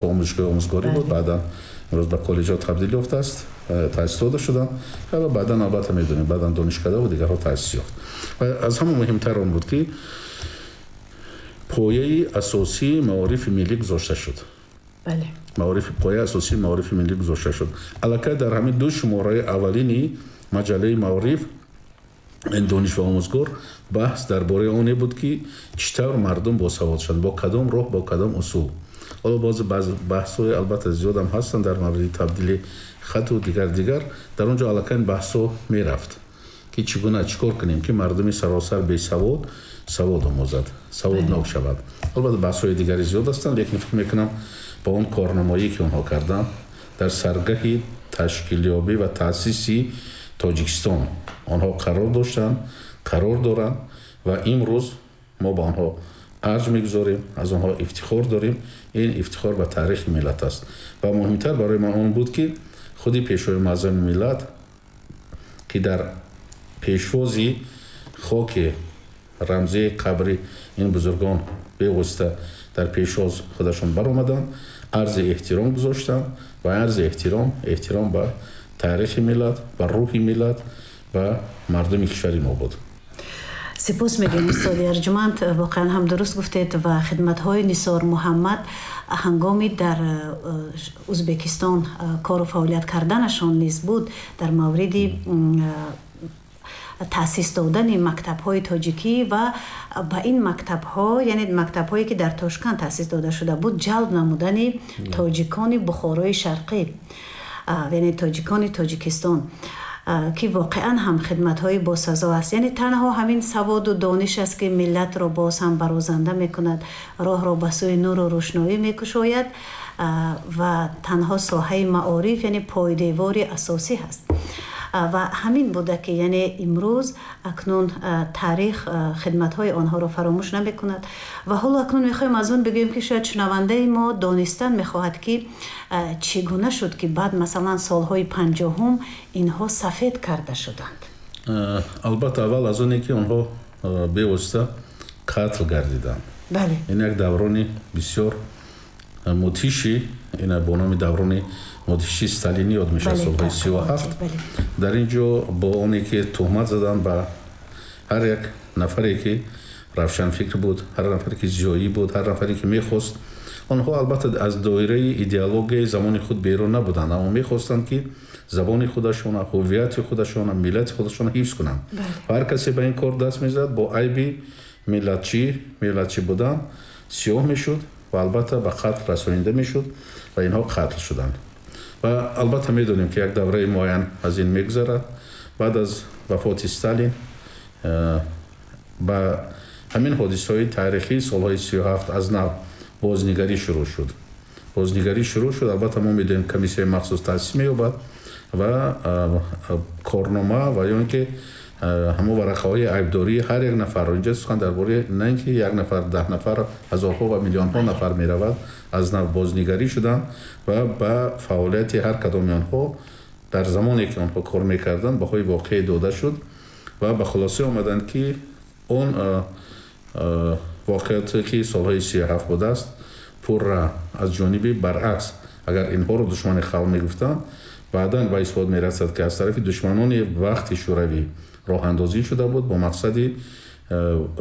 Омӯзишгоҳи омӯзгорӣ буд, баъдан имрӯз ба коллеҷҳо табдил ёфтааст, таъсис дода шуданд ва баъдан, албатта, медонем, баъдан донишкада ва дигарҳо таъсис ёфт. Ва аз ҳама муҳимтар он буд, ки пояи асосии маорифи миллӣ гузошта шуд. Маориф, пояи асосии маорифи миллӣ гузошта шуд. Аллакай дар ҳамин ду шумораи аввалини маҷаллаи маориф, ин «Дониш ва омӯзгор», баҳс дар бораи оне буд, ки чӣ тавр мардум босавод шаванд, бо кадом роҳ, бо кадом усул. Ҳоло боз баҳсҳои, албатта, зиёдам ҳастанд дар мавриди табдили хату дигар дигар. Дар он ҷо аллакай баҳсҳо мерафт, ки чӣ гуна, чӣ кор кунем, ки мардуми саросар бесавод савод омӯзад, саводнок шавад. Албатта, баҳсҳои дигари зиёд ҳастанд, лекин фикр мекунам, ба он корнамоӣ, ки онҳо карданд дар саргаҳи ташкилёбӣ ва таъсиси Тоҷикистон, онҳо қарор доштанд, қарор доранд ва имрӯз мо ба онҳо арҷ мегузорем, аз онҳо ифтихор дорем. Ин ифтихор ба таърихи миллат аст. Ва муҳимтар барои ман он буд, ки худи Пешвои муаззами миллат, ки дар пешвози хоки рамзии қабри ин бузургон бевосита дар пешвоз худашон баромаданд, арзи эҳтиром гузоштанд ва арзи эҳтиром, эҳтиром ба таърихи миллат, ба рӯҳи миллат, ба мардуми кишвари мо буд. Сипос мегӯем, устоди арҷуманд. Воқеан ҳам дуруст гуфтед ва хидматҳои Нисор Муҳаммад ҳангоми дар Ӯзбекистон кору фаъолият карданашон низ буд дар мавриди таъсис додани мактабҳои тоҷикӣ ва ба ин мактабҳо, яъне мактабҳое, ки дар Тошканд таъсис дода шуда буд, ҷалб намудани тоҷикони Бухорои Шарқӣ, яъне тоҷикони Тоҷикистон, ки воқеан ҳам хидматҳои босазо аст. Яъне танҳо ҳамин саводу дониш аст, ки миллатро боз ҳам барозанда мекунад, роҳро ба сӯи нуру рӯшноӣ мекушояд ва танҳо соҳаи маориф, яъне пойдевори асосӣ ҳаст. Ва ҳамин буда, ки яъне имрӯз акнун таърих хидматҳои онҳоро фаромӯш намекунад. Ва ҳоло акнун мехоҳем аз он бигӯем, ки шояд шунавандаи мо донистан мехоҳад, ки чӣ гуна шуд, ки баъд, масалан, солҳои 50-ум инҳо сафед карда шуданд. Албатта, аввал аз оне, ки онҳо бевосита қатл гардиданд. Ин як даврони бисёр мудҳиши, ина бо номи даврони мудҳиши сталинӣ ёд мешавад, солҳои 37. Дар ин ҷо бо оне, ки туҳмат заданд ба ҳар як нафаре, ки равшанфикр буд, ҳар нафаре, ки зиёӣ буд, ҳар нафаре, ки мехост. Онҳо, албатта, аз доираи идеологияи замони худ берун набуданд, аммо мехостанд, ки забони худашона, ҳуввияти худашона, миллати худашона ҳифз кунанд. Ва ҳар касе ба ин кор даст мезад, бо айби миллатчӣ будан сиёҳ мешуд ва, албатта, ба қатл расонида мешуд ва инҳо қатл шуданд. Ва, албатта, медонем, ки як давраи муайян аз ин мегузарад. Баъд аз вафоти Сталин ба ҳамин ҳодисаҳои таърихии солҳои 37 аз нав бознигарӣ шурӯъ шуд, бознигарӣ шурӯъ шуд. Албатта, мо медонем, комиссияи махсус таъсис меёбад ва корнома ва ё ин ки ҳамон варақаҳои айбдории ҳар як нафарро, инҷа сухан дар бораи на ин ки як нафар, 10 нафар, ҳазорҳо ва миллионҳо нафар меравад, аз нав бознигарӣ шуданд ва ба фаъолияти ҳар кадоми онҳо дар замоне, ки онҳо кор мекарданд, баҳои воқеӣ дода шуд ва ба хулоса омаданд, ки он воқеате, ки солҳои 37 будааст, пурра аз ҷониби, баръакс, агар инҳоро душмани халқ мегуфтанд, баъдан ба исбот мерасад, ки аз тарафи душманони вақти Шӯравӣ роҳандозӣ шуда буд бо мақсади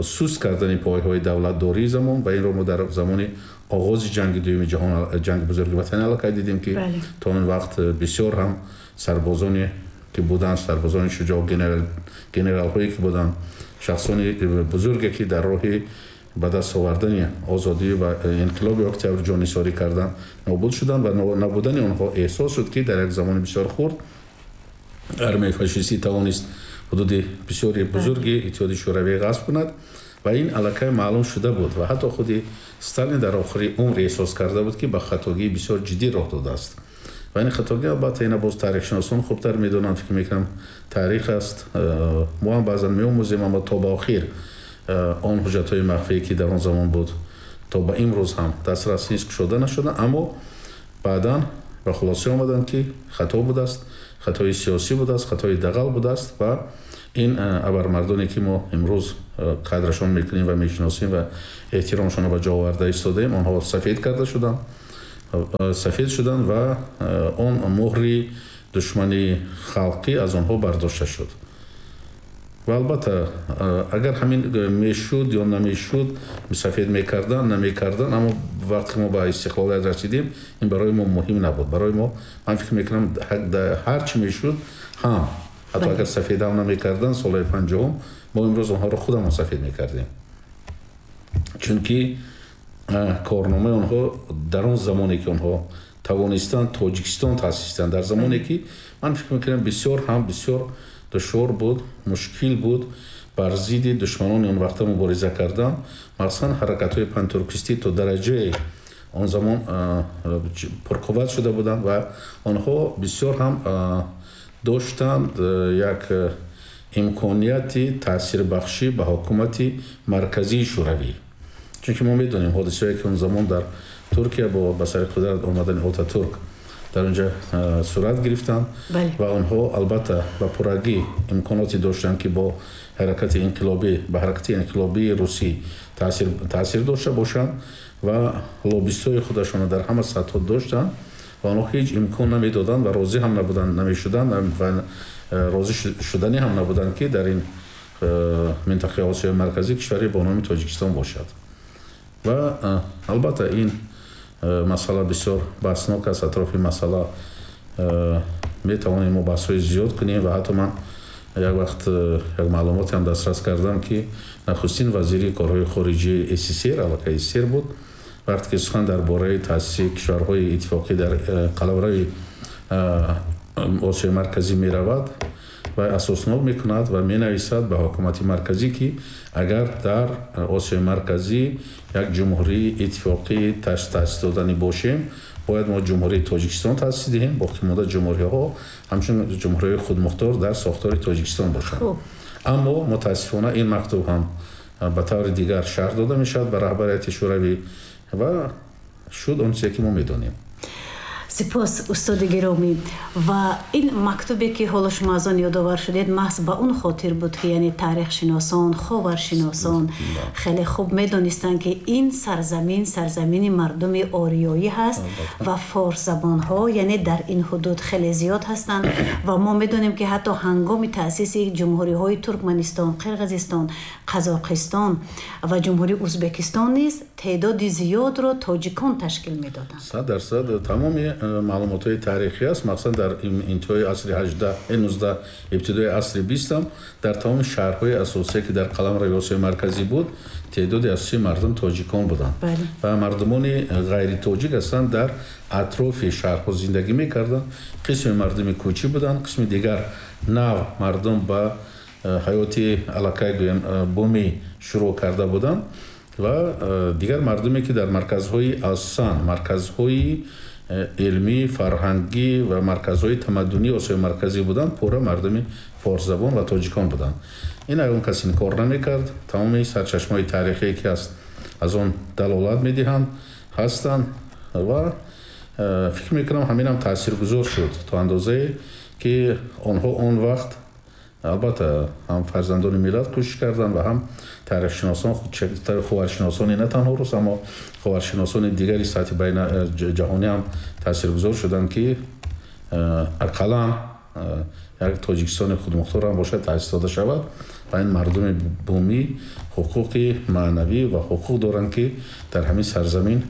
суст кардани пойҳои давлатдории замон. Ва инро мо дар замони оғози ҷанги дуюми ҷаҳон, ҷанги бузурги ватанӣ, аллакай дидем, ки то он вақт бисёр ҳам сарбозоне, ки буданд, сарбозони шуҷоъ, генералҳое, ки буданд, шахсони бузурге, ки дар роҳи ба даст овардани озодӣ ва инқилоби октябр ҷоннисорӣ карданд, нобуд шуданд ва набудани онҳо эҳсос шуд, ки дар як замони бисёр хурд армияи фашистӣ тавонист ҳудуди бисёри бузурги Иттиҳоди Шӯравӣ ғасб кунад ва ин аллакай маълум шуда буд. Ва ҳатто худи Сталин дар охири умр эҳсос карда буд, ки ба хатогии бисёр ҷиддӣ роҳ додааст. Ва ин хатогӣ, албатта, ина боз таърихшиносон хубтар медонанд, фикр мекунам, таърих аст, мо ҳам баъзан меомӯзем, аммо то ба охир он ҳуҷҷатҳои махфие, ки дар он замон буд, то ба имрӯз ҳам дастрас нест, кушода нашуда. Аммо баъдан ба хулоса омаданд, ки хато будааст, хатои сиёсӣ будааст, хатои дағал будааст ва ин абармардоне, ки мо имрӯз қадрашон мекунем ва мешиносем ва эҳтиромшонро ба ҷо оварда истодаем, онҳо сафед карда шуданд. Сафед шуданд ва он муҳри душмани халқӣ аз онҳо бардошта шуд. Ва албатта, агар ҳамин мешуд ё намешуд, сафед мекарданд, намекарданд, аммо вақте мо ба истиқлолият расидем, ин барои мо муҳим набуд. Барои мо, ман фикр мекунам, ҳар чӣ мешуд ҳам, ҳатто агар сафед ҳам намекарданд солҳои 50-ум, мо имрӯз онҳоро худамон сафед мекардем, чунки корномаи онҳо дар он замоне ки онҳо тавонистанд Тоҷикистон таъсис диҳанд, дар замоне ки ман фикр мекунам бисёр ҳам бисёр душвор буд, мушкил буд бар зидди душманони он вақта мубориза кардан, махсусан ҳаракатҳои пантуркистӣ то дараҷаи он замон пурқувват шуда буданд ва онҳо бисёр ҳам доштанд як имконияти таъсирбахшӣ ба ҳукумати марказии Шӯравӣ, чунки мо медонем ҳодисаҳое ки он замон дар Туркия бо ба сари қудрат омадани Отатурк дар онҷа сурат гирифтанд ва онҳо албатта ба пуррагӣ имконоте доштанд, ки бо ҳаракати инқилобӣ, ба ҳаракати инқилобии русӣ таъсир дошта бошанд ва лоббистҳои худашонро дар ҳама сатҳҳо доштанд ва онҳо ҳеҷ имкон намедоданд ва розӣ ҳам набуданд, намешуданд ва розӣ шуданӣ ҳам набуданд, ки дар ин минтақаи Осиёи Марказӣ кишваре бо номи Тоҷикистон бошад. Ва албатта ин масъала бисёр баҳснок аст. Атрофи масъала метавонем мо баҳсҳои зиёд кунем ва ҳатто ман як вақт як маълумоте ҳам дастрас кардам, ки нахустин вазири корҳои хориҷии СССР, аллакай СССР буд, вақте ки сухан дар бораи таъсиси кишварҳои иттифоқӣ дар қаламрави Осиёи Марказӣ меравад ва асоснок мекунад ва менависад ба ҳукумати марказӣ, ки агар дар Осиёи Марказӣ як ҷумҳурии иттифоқӣ таъсис доданӣ бошем, бояд мо Ҷумҳурии Тоҷикистон таъсис диҳем, боқимонда ҷумҳуриҳо ҳамчун ҷумҳуриҳои худмухтор дар сохтори Тоҷикистон бошанд. Аммо мутаассифона ин мактуб ҳам ба таври дигар шарҳ дода мешавад ба раҳбарияти Шӯравӣ ва шуд он чизе ки мо медонем. Сипос, устоди гиромӣ. Ва ин мактубе ки ҳоло шумо аз он ёдовар шудед, маҳз ба он хотир буд, ки яъне таърихшиносон, ховаршиносон хеле хуб медонистанд, ки ин сарзамин сарзамини мардуми ориёӣ ҳаст ва форсзабонҳо яъне дар ин ҳудуд хеле зиёд ҳастанд ва мо медонем, ки ҳатто ҳангоми таъсиси ҷумҳуриҳои Туркманистон, Қирғизистон, Қазоқистон ва Ҷумҳурии Узбекистон низ теъдоди зиёдро тоҷикон ташкил медоданд. 100%, тамоми маълумотҳои таърихӣ аст, махсусан дар интиҳои асри 18, 19, ибтидои асри 20 дар тамоми шаҳрҳои асосие, ки дар қаламрави Осиёи Марказӣ буд, теъдоди асосии мардум тоҷикон буданд ва мардумони ғайритоҷик ҳастанд дар атрофи шаҳрҳо зиндагӣ мекарданд. Қисми мардуми кӯчӣ буданд, қисми дигар нав мардум ба ҳаёти аллакай гӯем бумӣ шурӯъ карда буданд ва дигар мардуме, ки дар марказҳои, асосан марказҳои илмӣ, фарҳангӣ ва марказҳои тамаддунии Осиёи Марказӣ буданд, пурра мардуми форсзабон ва тоҷикон буданд. Ин ягон кас инкор намекард. Тамоми сарчашмаҳои таърихие ки аст, аз он далолат медиҳанд, ҳастанд ва фикр мекунам, ҳаминам таъсиргузор шуд то андозае, ки онҳо он вақт албатта ҳам фарзандони миллат кӯшиш карданд ва ҳам таърихшиносон, ховаршиносони на танҳо рус, аммо ховаршиносони дигари сатҳи байна ҷаҳонӣ ҳам таъсиргузор шуданд, ки ақаллан як Тоҷикистони худмухтор ҳам бошад, таъсис дода шавад ва ин мардуми бумӣ ҳуқуқи маънавӣ ва ҳуқуқ доранд, ки дар ҳамин сарзамин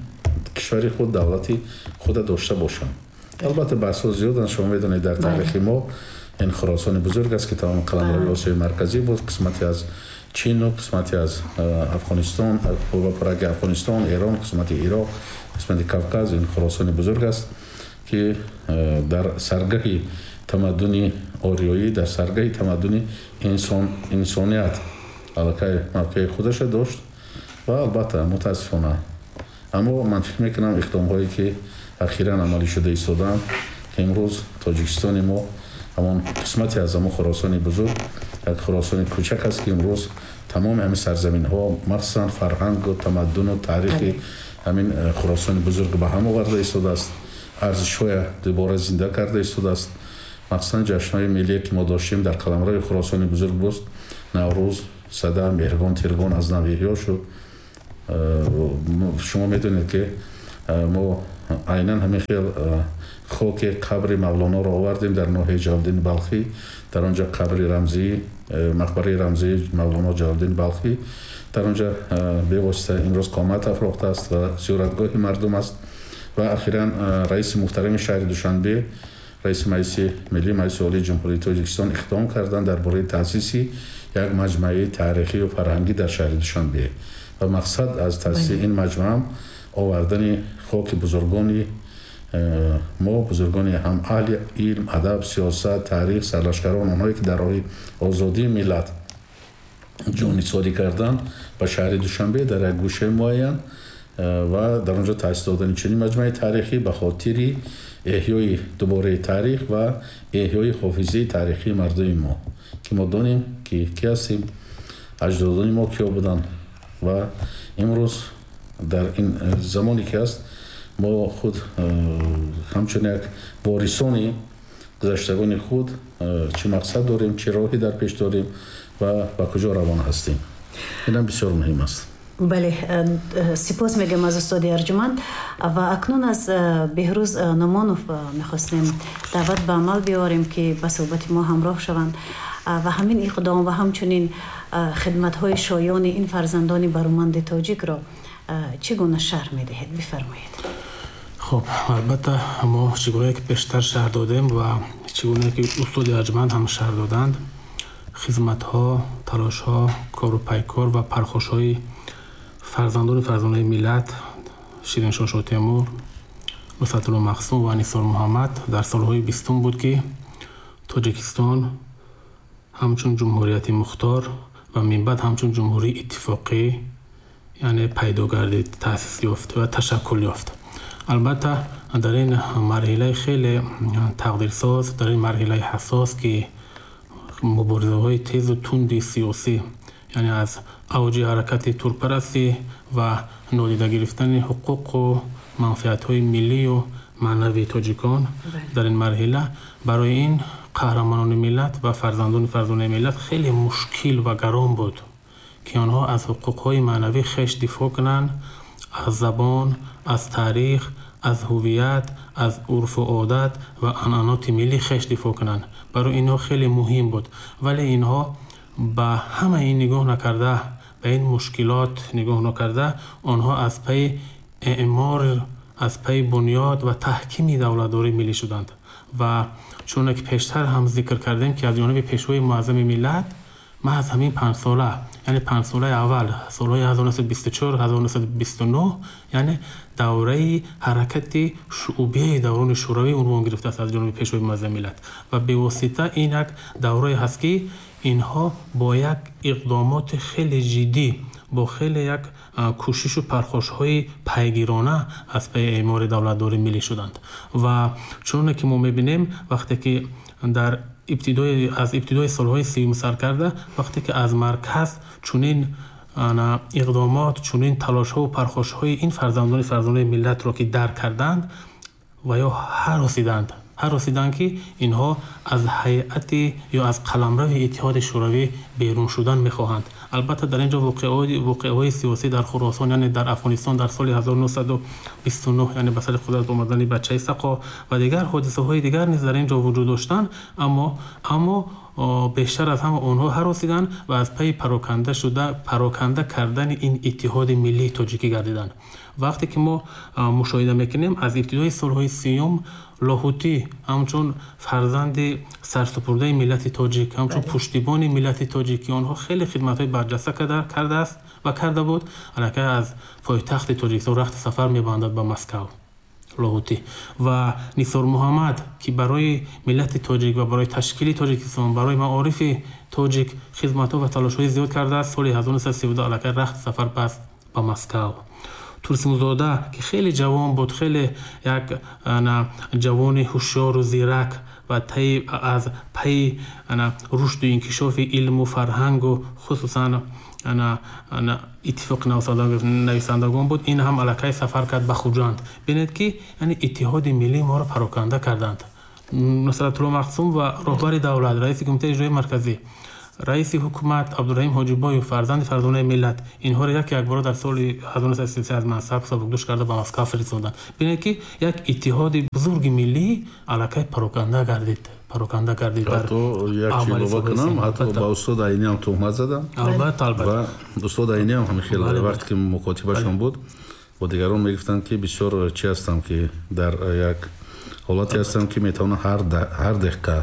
кишвари худ, давлати худа дошта бошанд. Албатта, баҳсҳо зиёданд, шумо медонед, дар таърихи мо ин Хуросони бузург аст, ки тамоми қаламрави Осиёи Марказӣ буд, қисмате аз Чину қисмате аз Афғонистон ва пораги Афғонистон, Эрон, қисмати Ироқ, қисмати Кавказ. Ин Хуросони бузург аст, ки дар саргаҳи тамаддуни ориёӣ, дар саргаҳи тамаддуни инсоният аллакай мавқеи худаша дошт. Ва албатта, мутаассифона, аммо ман фикр мекунам, иқдомҳое ки ахиран амалӣ шуда истодаанд, ки имрӯз Тоҷикистони мо ҳамон қисмате аз ҳамон Хуросони бузург, як Хуросони кӯчак аст, ки имрӯз тамоми ҳамин сарзаминҳо, махсусан фарҳангу тамаддуну таърихи ҳамин Хуросони бузург ба ҳам оварда истодааст, арзишҳоя дубора зинда карда истодааст. Махсусан ҷашнҳои миллие, ки мо доштем дар қаламрави Хуросони бузург буд, Наврӯз, Сада, Меҳргон, Тиргон аз нав эҳё шуд. Шумо медонед, ки мо Айнан ҳамин хел хоки қабри Мавлоноро овардем дар ноҳияи Ҷалолиддини Балхӣ. Дар он ҷо қабри рамзӣ, мақбараи рамзии Мавлоно Ҷалолиддини Балхӣ дар он ҷо бевосита имрӯз қомат афрохтааст ва зиёратгоҳи мардум аст. Ва ахиран раиси муҳтарами шаҳри Душанбе, раиси Маҷлиси Миллӣ, Маҷлиси Олии Ҷумҳурии Тоҷикистон иқдом карданд дар бораи таъсиси як маҷмӯаи таърихию фарҳангӣ дар шаҳри Душанбе. Ва мақсад аз таъсиси ин маҷмӯаам овардани хоки бузургони мо, бузургони ҳам аҳли илм, адаб, сиёсат, таърих, сарлашкарон, онҳое ки дар роҳи озодии миллат ҷонисорӣ карданд, ба шаҳри Душанбе дар як гӯшаи муайян ва дар он ҷо таъсис додани чунин маҷмӯаи таърихӣ ба хотири эҳёи дубораи таърих ва эҳёи ҳофизаи таърихии мардуми мо, ки мо донем ки ки ҳастем, аҷдодони мо киё буданд. Ва имрӯз дар ин замоне ки ҳаст, мо худ ҳамчун як ворисони гузаштагони худ чӣ мақсад дорем, чӣ роҳе дар пеш дорем ва ба куҷо равон ҳастем. Инам бисёр муҳим аст. Бале, сипос мегӯям аз устоди арҷуманд. Ва акнун аз Беҳрӯз Нумонов мехостем даъват ба амал биёрем, ки ба суҳбати мо ҳамроҳ шаванд ва ҳамин иқдом ва ҳамчунин хидматҳои шоёни ин фарзандони баруманди тоҷикро чӣ гуна шарҳ медиҳед? Бифармоед. Хуб, албатта мо чӣ гуна ки пештар шарҳ додем ва чӣ гуна ки устоди арҷуманд ҳам шарҳ доданд, хизматҳо, талошҳо, кору пайкор ва пархошҳои фарзандони фарзонаи миллат Шириншоҳ Шотемур, Нусратулло Махсум ва Нисор Муҳаммад дар солҳои 20 буд, ки Тоҷикистон ҳамчун ҷумҳурияти мухтор ва минбаъд ҳамчун ҷумҳурии иттифоқӣ, яъне пайдо гардид, таъсис ёфт ва ташаккул ёфт. Албатта дар ин марҳилаи хеле тақдирсоз, дар ин марҳилаи ҳассос, ки муборизаҳои тезу тунди сиёсӣ, яъне аз авҷи ҳаракати туркпарастӣ ва нодида гирифтани ҳуқуқу манфиатҳои миллию маънавии тоҷикон, дар ин марҳила барои ин қаҳрамонони миллат ва фарзандони фарзонаи миллат хеле мушкил ва гарон буд, ки онҳо аз ҳуқуқҳои маънавии хеш дифоъ кунанд, аз забон, аз таърих, аз ҳувият, аз урфу одат ва анъаноти миллии хеш дифоъ кунанд. Барои инҳо хеле муҳим буд. Вале инҳо ба ҳамаи ин нигоҳ накарда, ба ин мушкилот нигоҳ накарда, онҳо аз пайи эъмор, аз пайи бунёд ва таҳкими давлатдории миллӣ шуданд. Ва чуноне ки пештар ҳам зикр кардем, ки аз ҷониби пешвои муаззами миллат маҳз ҳамин 5 сола, яъне 5 солаи аввал, солҳои 1924 1929, яъне давраи ҳаракати шуъбияи даврони шӯравӣ унвон гирифтааст аз ҷониби пешвои муаззами миллат. Ва бевосита ин як даврае ҳаст, ки инҳо бо як иқдомоти хеле ҷиддӣ, бо хеле як кӯшишу пархошҳои пайгирона аз пайи эъмори давлатдории миллӣ шуданд. Ва чуноне ки мо мебинем, вақте ки дар аз ибтидои солҳои 30 сар карда, вақте ки аз марказ чунин иқдомот, чунин талошҳову пархошҳои ин фарзандони фарзонаи миллатро ки дарк карданд ва ё ҳаросиданд, ки инҳо аз ҳайати ё аз қаламрави Иттиҳоди Шӯравӣ берун шудан мехоҳанд. Албатта дар ин ҷо воқеаҳои сиёсӣ дар Хуросон, яъне дар Афғонистон дар соли 1929, яъне ба сари қудрат омадани бачаи Сақо ва дигар ҳодисаҳои дигар низ дар ин ҷо вуҷуд доштанд, аммо бештар аз ҳама онҳо ҳаросиданд ва аз пайи пароканда кардани ин иттиҳоди миллии тоҷикӣ гардиданд. Вақте ки мо мушоҳида мекунем, аз ибтидои солҳои 30 Лоҳутӣ ҳамчун фарзанди сарсупурдаи миллати тоҷик, ҳамчун пуштибони миллати тоҷик, ки онҳо хеле хидматҳои барҷаста кардааст ва карда буд, аллакай аз пойтахти Тоҷикистон рахти сафар мебандад ба Москав Лоҳутӣ. Ва Нисор Муҳаммад, ки барои миллати тоҷик ва барои ташкили Тоҷикистон, барои маорифи тоҷик хизматҳо ва талошҳои зиёд кардааст, соли 1932 аллакай рахти сафар баст ба Москав. Турсунзода, ки хеле ҷавон буд, хеле як ҷавони ҳушёру зирак ва аз пайи рушду инкишофи илму фарҳангу хусусан иттифоқи нависандагон буд, ин ҳам аллакай сафар кард ба Хуҷанд. Бинед, ки яъне иттиҳоди миллии моро пароканда карданд. Нусратулло Махсум ва роҳбари давлат, раиси Кумитаи иҷроии марказӣ Раиси ҳукумат Абдураҳим Ҳоҷибоев, фарзанди фарзонаи миллат, инҳоро як якбора дар соли 1933 аз мансаб сабукдӯш карда ба Москва фиристоданд. Бинед, ки як иттиҳоди бузурги миллӣ аллакай пароканда гардид. Пароканда гардид. Ҳатто як чиз илова кунам, ҳатто ба устод Айнӣ ҳам туҳмат задам. Албатта, албатта. Ва устод Айнӣ ҳам ҳамин хел вақте ки мукотибашон буд, бо дигарон мегуфтанд, ки бисёр чи ҳастам, ки дар як ҳолате ҳастам, ки метавонам ҳар дақиқа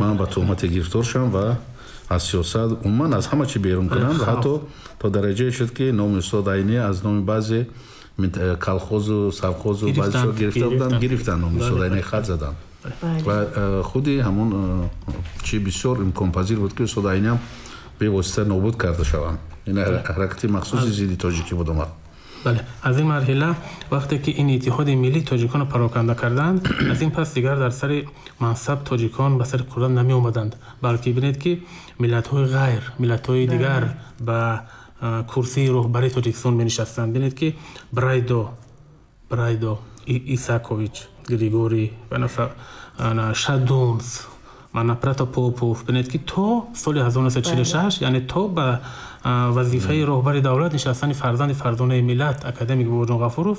ман ба туҳмате гирифтор шавам ва аз сиёсат, умуман аз ҳама чи берун кунам. Ва ҳатто то дараҷае шуд, ки номи устод Айнӣ аз номи баъзе колхозу совхозу баъзеҳо гирифта буданд, гирифтанд, номи устод Айнӣ хат заданд. Ва худи ҳамон чи бисёр имконпазир буд, ки устод Айнӣ ҳам бевосита нобуд карда шаванд. Ин ҳаракати махсуси зидди тоҷикӣ буд омад. Бале, аз ин марҳила вақте ки ин иттиҳоди миллии тоҷиконро пароканда карданд, аз ин пас дигар дар сари мансаб тоҷикон ба сари қудрат намеомаданд, балки бинед, ки миллатҳои ғайр, миллатҳои дигар ба курсии роҳбарии Тоҷикистон менишастанд. Бинед, ки Брайдо, Исакович, Григорий, Шадунс, мана Протопопов. Бинед, ки то соли 1946, яъне то ба вазифаи роҳбари давлат нишастани фарзанди фарзонаи миллат, академик Бобоҷон Ғафуров,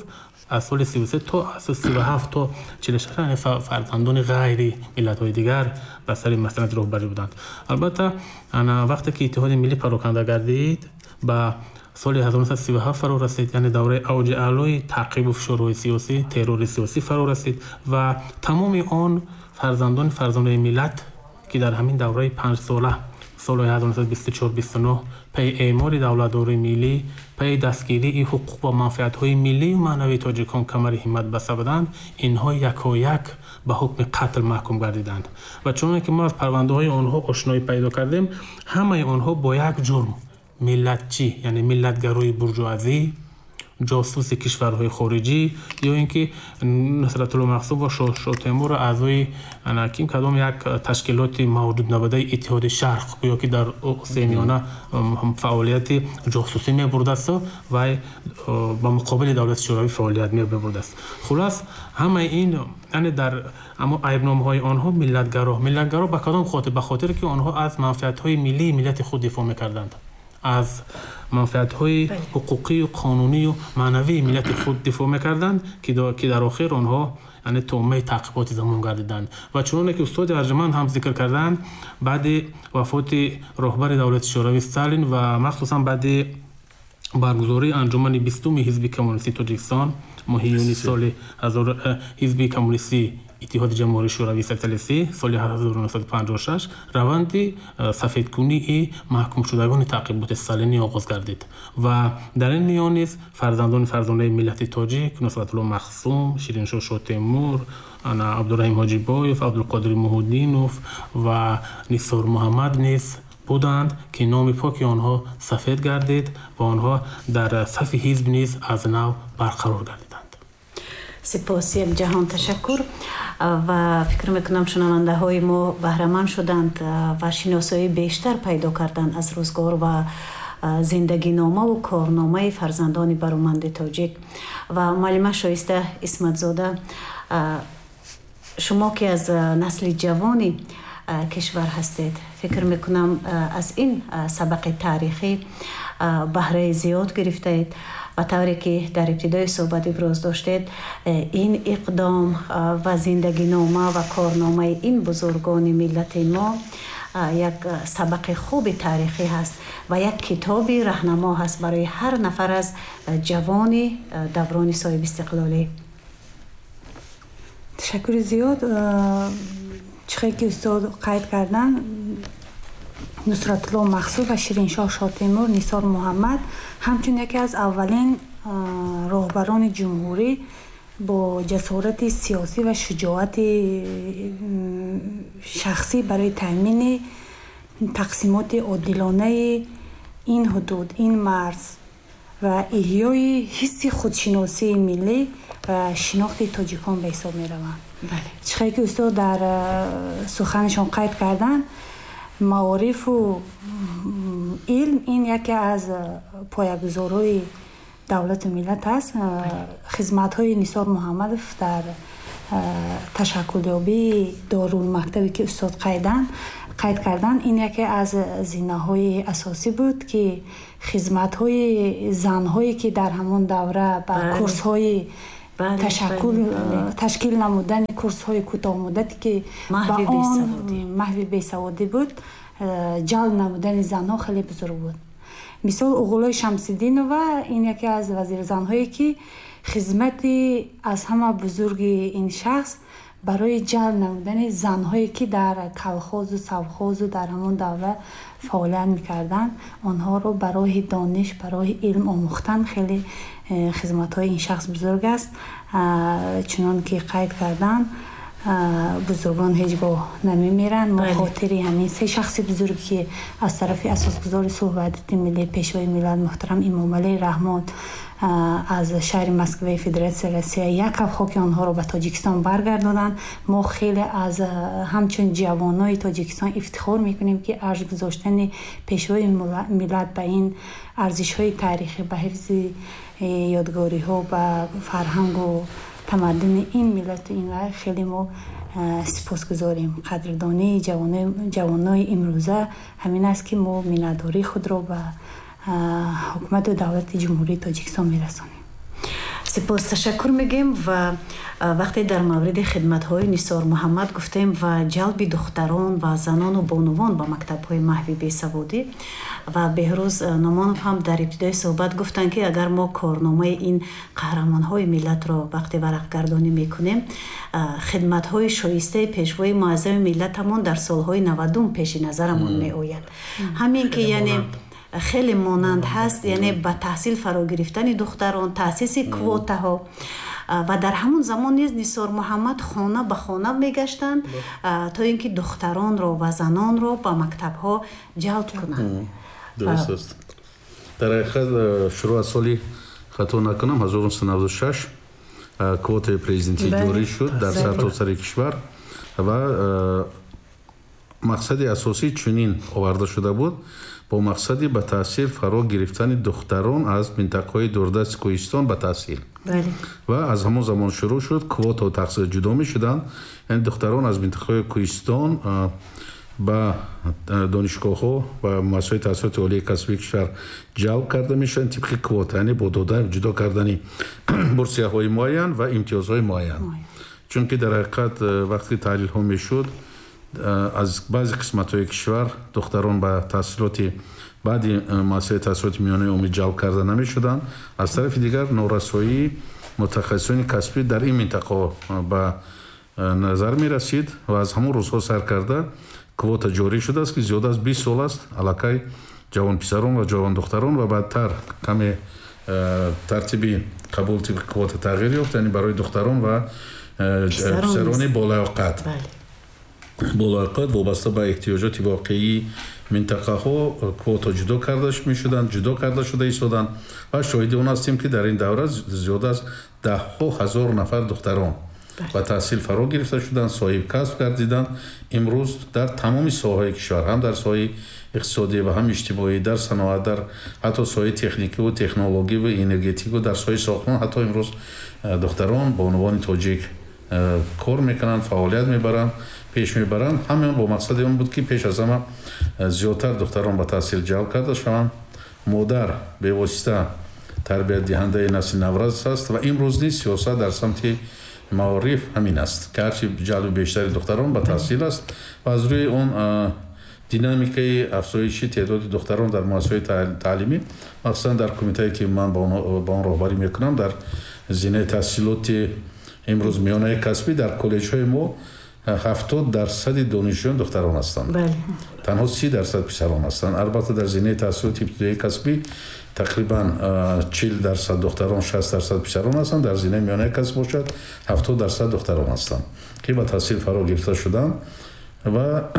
аз соли 33 то 37 то 46, яъне фарзандони ғайри миллатҳои дигар ба сари масъалати роҳбарӣ буданд. Албатта, вақте ки иттиҳоди миллӣ пароканда гардид, ба соли 1937 фаро расид, яъне давраи авҷи аълои таъқибу фишорҳои сиёсӣ, террори сиёсӣ фаро расид ва тамоми он фарзандони фарзонаи миллат, ки дар ҳамин давраи панҷсола, солҳои 1924-29, пайи эъмори давлатдории миллӣ, пайи дастгирии ҳуқуқ ва манфиатҳои миллию маънавии тоҷикон камари ҳиммат баста буданд, инҳо якояк ба ҳукми қатл маҳкум гардиданд. Ва чуноне ки мо аз парвандаҳои онҳо ошноӣ пайдо кардем, ҳамаи онҳо бо як ҷурм: миллатчӣ, яъне миллатгарои буржуазӣ, ҷосуси кишварҳои хориҷӣ, ё ин ки Нусратулло Махсум ва Шотемурро аъзои ким кадом як ташкилоти мавҷуд набудаи Иттиҳоди Шарқ, гӯё ки дар Осиёи Миёна фаъолияти ҷосусӣ мебурдасту вай ба муқобили давлати Шӯравӣ фаъолият мебурдааст. Хулас, ҳамаи ин, яъне дар аммо айбномаҳои онҳо миллатгаро. Миллатгаро ба кадом хотир? Ба хотире ки онҳо аз манфиатҳои миллии миллати худ дифоъ мекарданд, аз манфиатҳои ҳуқуқию қонунию маънавии миллати худ дифоъ мекарданд, ки дар охир онҳо, яъне, тӯъмаи таъқиботи замон гардиданд. Ва чуноне ки устоди арҷманд ҳам зикр карданд, баъди вафоти роҳбари давлати Шӯравӣ Сталин ва махсусан баъди баргузории анҷумани 20-уми Ҳизби Коммунистии Тоҷикистон моҳи июни соли Ҳизби Коммунистии Иттиҳоди Ҷумҳурии Шӯравии Социалистӣ соли 1956, раванди сафедкунии маҳкумшудагони таъқиботи сталинӣ оғоз гардид ва дар ин миён низ фарзандони фарзонаи миллати тоҷик Нусратулло Махсум, Шириншоҳ Шотемур, Абдураҳим Ҳоҷибоев, Абдулқодири Муҳуддинов ва Нисор Муҳаммад низ буданд, ки номи поки онҳо сафед гардид ва онҳо дар сафи ҳизб низ аз нав барқарор гардиданд. Сипос, як ҷаҳон ташаккур. Ва фикр мекунам, шунавандаҳои мо баҳраманд шуданд ва шиносоии бештар пайдо карданд аз рӯзгор ва зиндагиномаву корномаи фарзандони бароманди тоҷик. Ва муаллима Шоиста Исматзода, шумо ки аз насли ҷавони кишвар ҳастед, фикр мекунам, аз ин сабақи таърихӣ баҳраи зиёд гирифтаед. Ба тавре ки дар ибтидои суҳбат иброз доштед, ин иқдом ва зиндагинома ва корномаи ин бузургони миллати мо як сабақи хуби таърихӣ ҳаст ва як китоби раҳнамо ҳаст барои ҳар нафар аз ҷавони даврони соҳибистиқлолӣ. Ташаккури зиёд. Чихе ки устод қайд карданд, Нусратулло Махсум ва Шириншоҳ Шотемур, Нисор Муҳаммад ҳамчун яке аз аввалин роҳбарони ҷумҳурӣ бо ҷасорати сиёсӣ ва шуҷоати шахсӣ барои таъмини тақсимоти одилонаи ин ҳудуд, ин марз ва эҳёи ҳисси худшиносии миллӣ ва шинохти тоҷикон ба ҳисоб мераванд. Чихе ки устод дар суханашон қайд карданд, маорифу илм ин яке аз поягузорҳои давлату миллат аст. Хизматҳои Нисор Муҳаммадов дар Ташаккулёбии дорулмактабе ки устод қайд карданд, ин яке аз зинаҳои асосӣ буд, ки хизматҳои занҳое ки дар ҳамон давра ба курсҳои ташкил намудани курсҳои кӯтоҳмуддате ки ба он маҳви бесаводӣ буд, ҷалб намудани занҳо хеле бузург буд. Мисол, Уғулои Шамсиддинова ин яке аз вазирзанҳое ки хизмати аз ҳама бузурги ин шахс барои ҷалб намудани занҳое ки дар колхозу совхозу дар ҳамон давра фаъолият мекарданд, онҳоро ба роҳи дониш, ба роҳи илм омӯхтан хеле хизматҳои ин шахс бузург аст. Чунон ки қайд карданд, бузургон ҳеҷ гоҳ намемиранд. Мо хотири ҳамин се шахси бузург, ки аз тарафи асосгузори сулҳу ваҳдати миллӣ, Пешвои миллат муҳтарам Эмомалӣ Раҳмон аз шаҳри Москваи Федератсияи Россия як каф хоки онҳоро ба Тоҷикистон баргардонанд, мо хеле аз ҳамчун ҷавонои Тоҷикистон ифтихор мекунем, ки арҷ гузоштани Пешвои миллат ба ин арзишҳои таърихӣ, ба ҳифзи ёдгориҳо, ба фарҳангу тамаддуни ин миллату ин хеле мо сипосгузорем. Қадрдонии ҷавонои имрӯза ҳамин аст, ки мо миннатдории худро ба ҳукумату давлати Ҷумҳурии Тоҷикистон мерасонем. Сипос, ташаккур мегӯем. Ва вақте дар мавриди хидматҳои Нисор Муҳаммад гуфтем ва ҷалби духтарон ва занону бонувон ба мактабҳои маҳви бесаводӣ, ва Беҳрӯз Номонов ҳам дар ибтидои суҳбат гуфтанд, ки агар мо корномаи ин қаҳрамонҳои миллатро вақте варақгардонӣ мекунем, хидматҳои шоистаи Пешвои муаззами миллатамон дар солҳои 90-ум пеши назарамон меояд. Ҳамин ки яъне хеле монанд ҳаст, яъне ба таҳсил фаро гирифтани духтарон, таъсиси квотаҳо. Ва дар ҳамон замон низ Нисор Муҳаммад хона ба хона мегаштанд, то ин ки духтаронро ва занонро ба мактабҳо ҷалб кунанд. Дуруст аст. Дар ҳақиқат, шурӯъ аз соли, хато накунам, 1996 квотаи президентӣ ҷорӣ шуд дар сартосари кишвар ва мақсади асосӣ чунин оварда шуда буд: бо мақсади ба таҳсил фаро гирифтани духтарон аз минтақаҳои дурдасти кӯҳистон ба таҳсил. Ва аз ҳамон замон шурӯъ шуд, квотаҳо тақсим ҷудо мешуданд, яъне духтарон аз минтақаҳои кӯҳистон ба донишгоҳҳо ва муассисаҳои таҳсилоти олии касбии кишвар ҷалб карда мешаванд тибқи квота, яъне бо дода ҷудо кардани бурсияҳои муайян ва имтиёзҳои муайян. Чунки дар ҳақиқат, вақте таҳлилҳо мешуд, аз баъзе қисматҳои кишвар духтарон ба таҳсилоти баъди муассисаи таҳсилоти миёнаи умумӣ ҷалб карда намешуданд. Аз тарафи дигар, норасоии мутахассисони касбӣ дар ин минтақаҳо ба назар мерасид ва аз ҳамон рӯзҳо сар карда квота ҷорӣ шудааст, ки зиёда аз 20 сол аст аллакай ҷавонписарон ва ҷавондухтарон ва баъдтар каме тартиби қабул тибқи квота тағйир ёфт, яъне барои духтарон ва писарони болаёқат вобаста ба эҳтиёҷоти воқеии минтақаҳо квота ҷудо карда мешуданд, ҷудо карда шуда истоданд. Ва шоҳиди он ҳастем, ки дар ин давра зиёда аз даҳҳо ҳазор нафар духтарон ба таҳсил фаро гирифта шуданд, соҳиб касб гардиданд. Имрӯз дар тамоми соҳаҳои кишвар, ҳам дар соҳаи иқтисодӣ ва ҳам иҷтимоӣ, дар саноат, дар ҳатто соҳаи техникиву технологиву энергетику, дар соҳаи сохтмон ҳатто имрӯз духтарон, бонувони тоҷик кор мекунанд, фаъолият мебаранд, пеш мебаранд. Ҳамин бо мақсади он буд, ки пеш аз ҳама зиёдтар духтарон ба таҳсил ҷалб карда шаванд. Модар бевосита тарбиятдиҳандаи насли наврас аст ва имрӯз низ сиёсат дар самти маориф ҳамин аст, ки ҳарчи ҷалби бештари духтарон ба таҳсил аст ва аз рӯи он динамикаи афзоиши теъдоди духтарон дар муассисаҳои таълимӣ, махсусан дар кумитае ки ман ба он роҳбарӣ мекунам, дар зинаи таҳсилоти имрӯз миёнаи касбӣ, дар коллеҷҳои мо 70% донишҷӯён духтарон ҳастанд, танҳо 30% писарон ҳастанд. Албатта, дар зинаи таҳсилоти ибтидоии касбӣ тақрибан 40% духтарон, 60% писарон ҳастанд. Дар зинаи миёнаи касб бошад, 70% духтарон ҳастанд, ки ба таҳсил фаро гирифта шуданд. Ва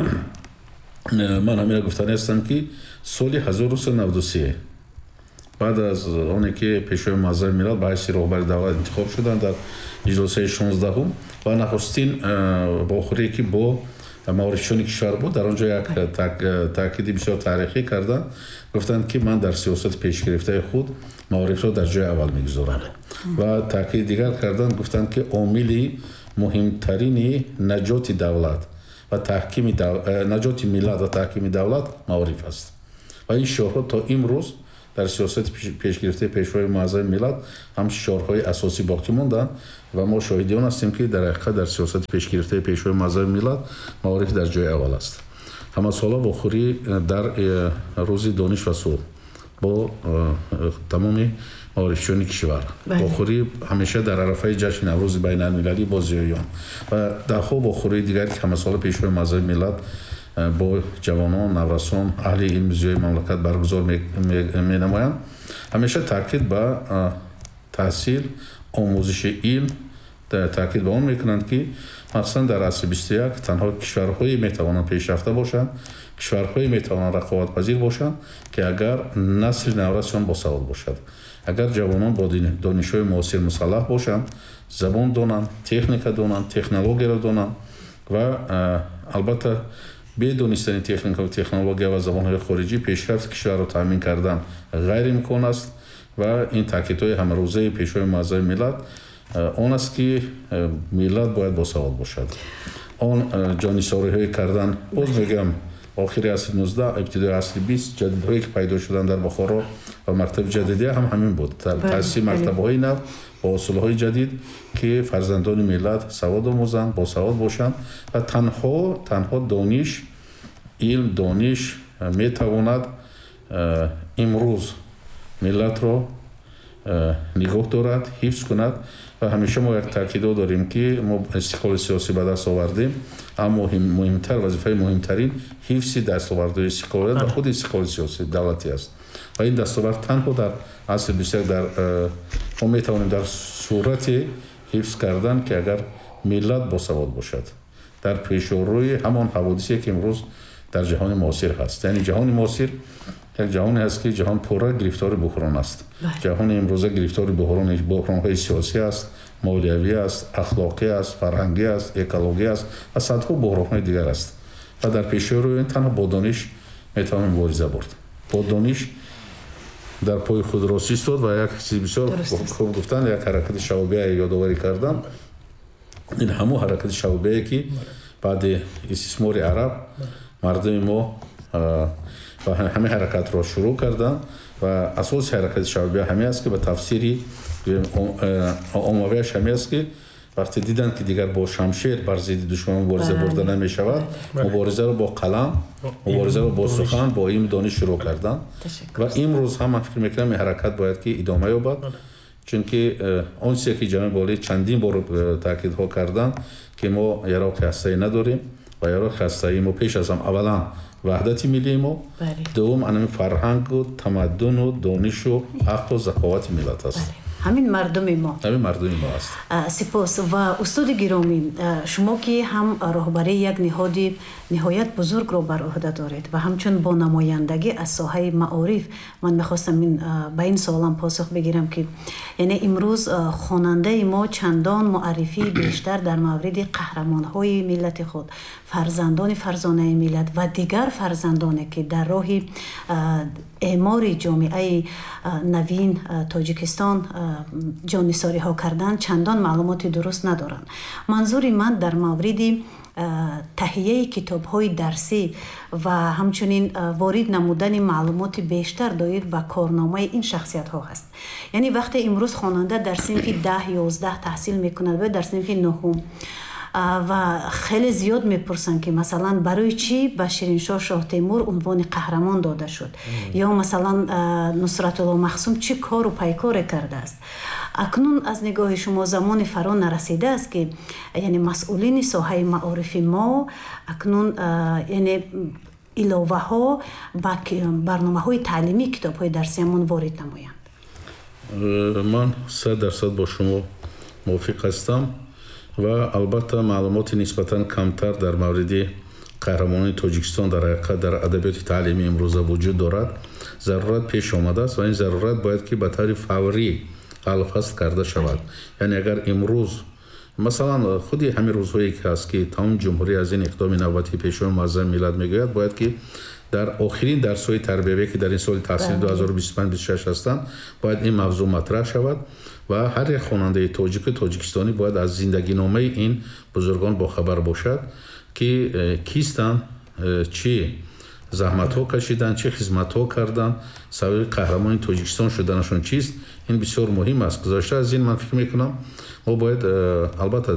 ман ҳамина гуфтанӣ ҳастам, ки соли 1993, баъд аз оне ки Пешвои муаззами миллат ба ҳайси роҳбари давлат интихоб шуданд дар иҷлосаи 16-ум ва нахустин вохӯрие ки бо маорифчиёни кишвар буд, дар он ҷо як таъкиди бисёр таърихӣ карданд. Гуфтанд, ки ман дар сиёсати пешгирифтаи худ маорифро дар ҷои аввал мегузорам. Ва таъкиди дигар карданд, гуфтанд, ки омили Муҳимтарини наҷоти давлат ва таҳкими наҷоти миллат ва таҳкими давлат маориф аст. Ва ин шиорҳо то имрӯз дар сиёсати пешгирифтаи Пешвои муаззами миллат ҳам шиорҳои асосӣ боқӣ монданд ва мо шоҳиди он ҳастем, ки дар ҳақиқат дар сиёсати пешгирифтаи Пешвои муаззами миллат маориф дар ҷои аввал аст. Ҳамасола вохӯрӣ дар рӯзи дониш ва сулҳ бо тамоми маорифчиёни кишвар, вохӯрӣ ҳамеша дар арафаи ҷашни Наврӯзи байналмилалӣ бо зиёиён ва даҳҳо вохӯрии дигар, ки ҳамасола Пешвои муаззами миллат бо ҷавонон, наврасон, аҳли илми зиёи мамлакат баргузор менамоянд, ҳамеша таъкид ба таҳсил, омӯзиши илм, таъкид ба он мекунанд, ки махсусан дар асри 21 танҳо кишварҳое метавонанд пешрафта бошанд, кишварҳое метавонанд рақобатпазир бошанд, ки агар насли наврасшон босавод бошад, агар ҷавонон бо донишҳои муосир мусаллаҳ бошанд, забон донанд, техника донанд, технологияро донанд ва албатта бе донистани техника ва технология ва забонҳои хориҷӣ пешрафти кишварро таъмин кардан ғайриимкон аст. Ва ин таъкидҳои ҳамарӯзаи Пешвои муаззами миллат он аст, ки миллат бояд босавод бошад. Он ҷонисориҳое кардан, боз мегӯям, охири асри 19, ибтидои асри 20 ҷадидҳое, ки пайдо шуданд дар Бухоро ва мактаби ҷадидия ҳам ҳамин буд, таъсиси мактабҳои нав бо усулҳои ҷадид, ки фарзандони миллат савод омӯзанд, босавод бошанд ва танҳо дониш, илм, дониш метавонад имрӯз миллатро нигоҳ дорад, ҳифз кунад. Ва ҳамеша мо як таъкидо дорем, ки мо истиқлоли сиёсӣ ба даст овардем, аммо муҳимтар, вазифаи муҳимтарин ҳифзи дастовардҳои истиқлолият ва худи истиқлоли сиёсӣ давлатӣ аст. Ва ин дастовард танҳо дар асри 21 дар мо метавонем дар сурати ҳифз кардан, ки агар миллат босавод бошад, дар пешорӯи ҳамон ҳаводисе, ки имрӯз дар ҷаҳони муосир ҳаст. Яъне ҷаҳони муосир як ҷаҳоне ҳаст, ки ҷаҳон пурра гирифтори буҳрон аст. Ҷаҳони имрӯза гирифтори буҳронҳои сиёсӣ аст, молиявӣ аст, ахлоқӣ аст, фарҳангӣ аст, экологӣ аст ва садҳо буҳронҳои дигар аст. Ва дар пеши рӯи ин танҳо бо дониш метавон мубориза бурд, бо дониш дар пои худ рост истод. Ва як чизи бисёр хуб гуфтан, як ҳаракати шаъбия ёдоварӣ кардан, ин ҳамун ҳаракати шаъбие, ки баъди истисмори араб мардуми мо ва ҳамин ҳаракатро шурӯъ карданд. Ва асоси ҳаракати шаъбия ҳамин аст, ки ба тафсири оммавиаш ҳамин аст, ки вақте диданд, ки дигар бо шамшер бар зидди душман мубориза бурда намешавад, муборизаро бо қалам, муборизаро бо сухан, бо илм, дониш шурӯъ карданд. Ва имрӯз ҳам ман фикр мекунам, ин ҳаракат бояд ки идома ёбад, чунки он чизе, ки ҷаноби олӣ чандин бор таъкидҳо карданд, ки мо яроқи ҳастаӣ надорем ва яроқи ҳастаии мо пеш аз ҳам аввалан ваҳдати миллии мо, дуввум анами фарҳангу тамаддуну донишу ақлу заковати миллат аст. Ҳамин мардуми мо. Ҳамин мардуми мо аст. Сипос. Ва устоди гиромӣ, шумо ки ҳам роҳбарии як ниҳоди ниҳоят бузургро бар ӯҳда доред ва ҳамчун бо намояндагӣ аз соҳаи маориф, ман мехостам ба ин суолам посух бигирам, ки яъне имрӯз хонандаи мо чандон муаррифии бештар дар мавриди қаҳрамонҳои миллати худ, фарзандони фарзонаи миллат ва дигар фарзандоне, ки дар роҳи эъмори ҷомеаи навин Тоҷикистон ҷоннисориҳо карданд, чандон маълумоти дуруст надоранд. Манзури ман дар мавриди таҳияи китобҳои дарсӣ ва ҳамчунин ворид намудани маълумоти бештар доир ба корномаи ин шахсиятҳо ҳаст. Яъне вақте имрӯз хонанда дар синфи 10, 11 таҳсил мекунад ва дар синфи нуҳум ва хеле зиёд мепурсанд, ки масалан барои чӣ ба Шириншоҳ Шоҳтемур унвони қаҳрамон дода шуд ё масалан Нусратулло Махсум чӣ кору пайкоре кардааст. Акнун аз нигоҳи шумо замони фаро нарасидааст, ки яъне масъулини соҳаи маорифи мо акнун яъне иловаҳо ба барномаҳои таълимии китобҳои дарсиамон ворид намоянд? Ман 100% бо шумо мувофиқ ҳастам ва албатта маълумоти нисбатан камтар дар мавриди қаҳрамонони Тоҷикистон дар ҳақиқат дар адабиёти таълимии имрӯза вуҷуд дорад. Зарурат пеш омадааст ва ин зарурат бояд ки ба таври фаврӣ ҳалфасл карда шавад. Яъне агар имрӯз масалан худи ҳамин рӯзҳое, ки ҳаст, ки тамоми ҷумҳурӣ аз ин иқдоми навбатии Пешвои муаззами миллат мегӯяд, бояд ки дар охирин дарсҳои тарбиявие, ки дар ин соли таҳсили 2025-26 ҳастанд, бояд ин мавзӯъ матраҳ шавад. Ва ҳар як хонандаи тоҷику тоҷикистонӣ бояд аз зиндагиномаи ин бузургон бохабар бошад, ки кистанд, чӣ заҳматҳо кашиданд, чӣ хизматҳо карданд, сабаби қаҳрамони Тоҷикистон шуданашон чист. Ин бисёр муҳим аст. Гузашта аз ин, ман фикр мекунам, мо бояд албатта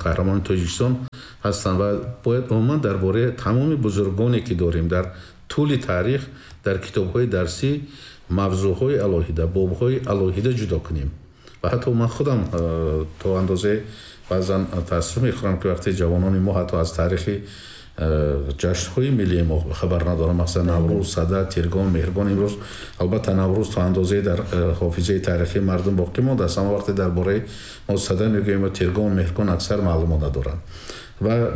қаҳрамони Тоҷикистон ҳастанд ва бояд умуман дар бораи тамоми бузургоне ки дорем дар тӯли таърих дар китобҳои дарсӣ мавзӯъҳои алоҳида, бобҳои алоҳида ҷудо кунем. Ва ҳатто ман худам то андозае баъзан таассуф мехӯрам, ки вақте ҷавонони мо ҳатто аз таърихи ҷашнҳои миллии мо хабар надорам, масалан Наврӯз, Сада, Тиргон, Меҳргон. Имрӯз албатта Наврӯз то андозае дар ҳофизаи таърихии мардум боқӣ мондааст, аммо вақте дар бораи мо Сада мегӯем ва Тиргон, Меҳргон, аксар маълумот надоранд. Ва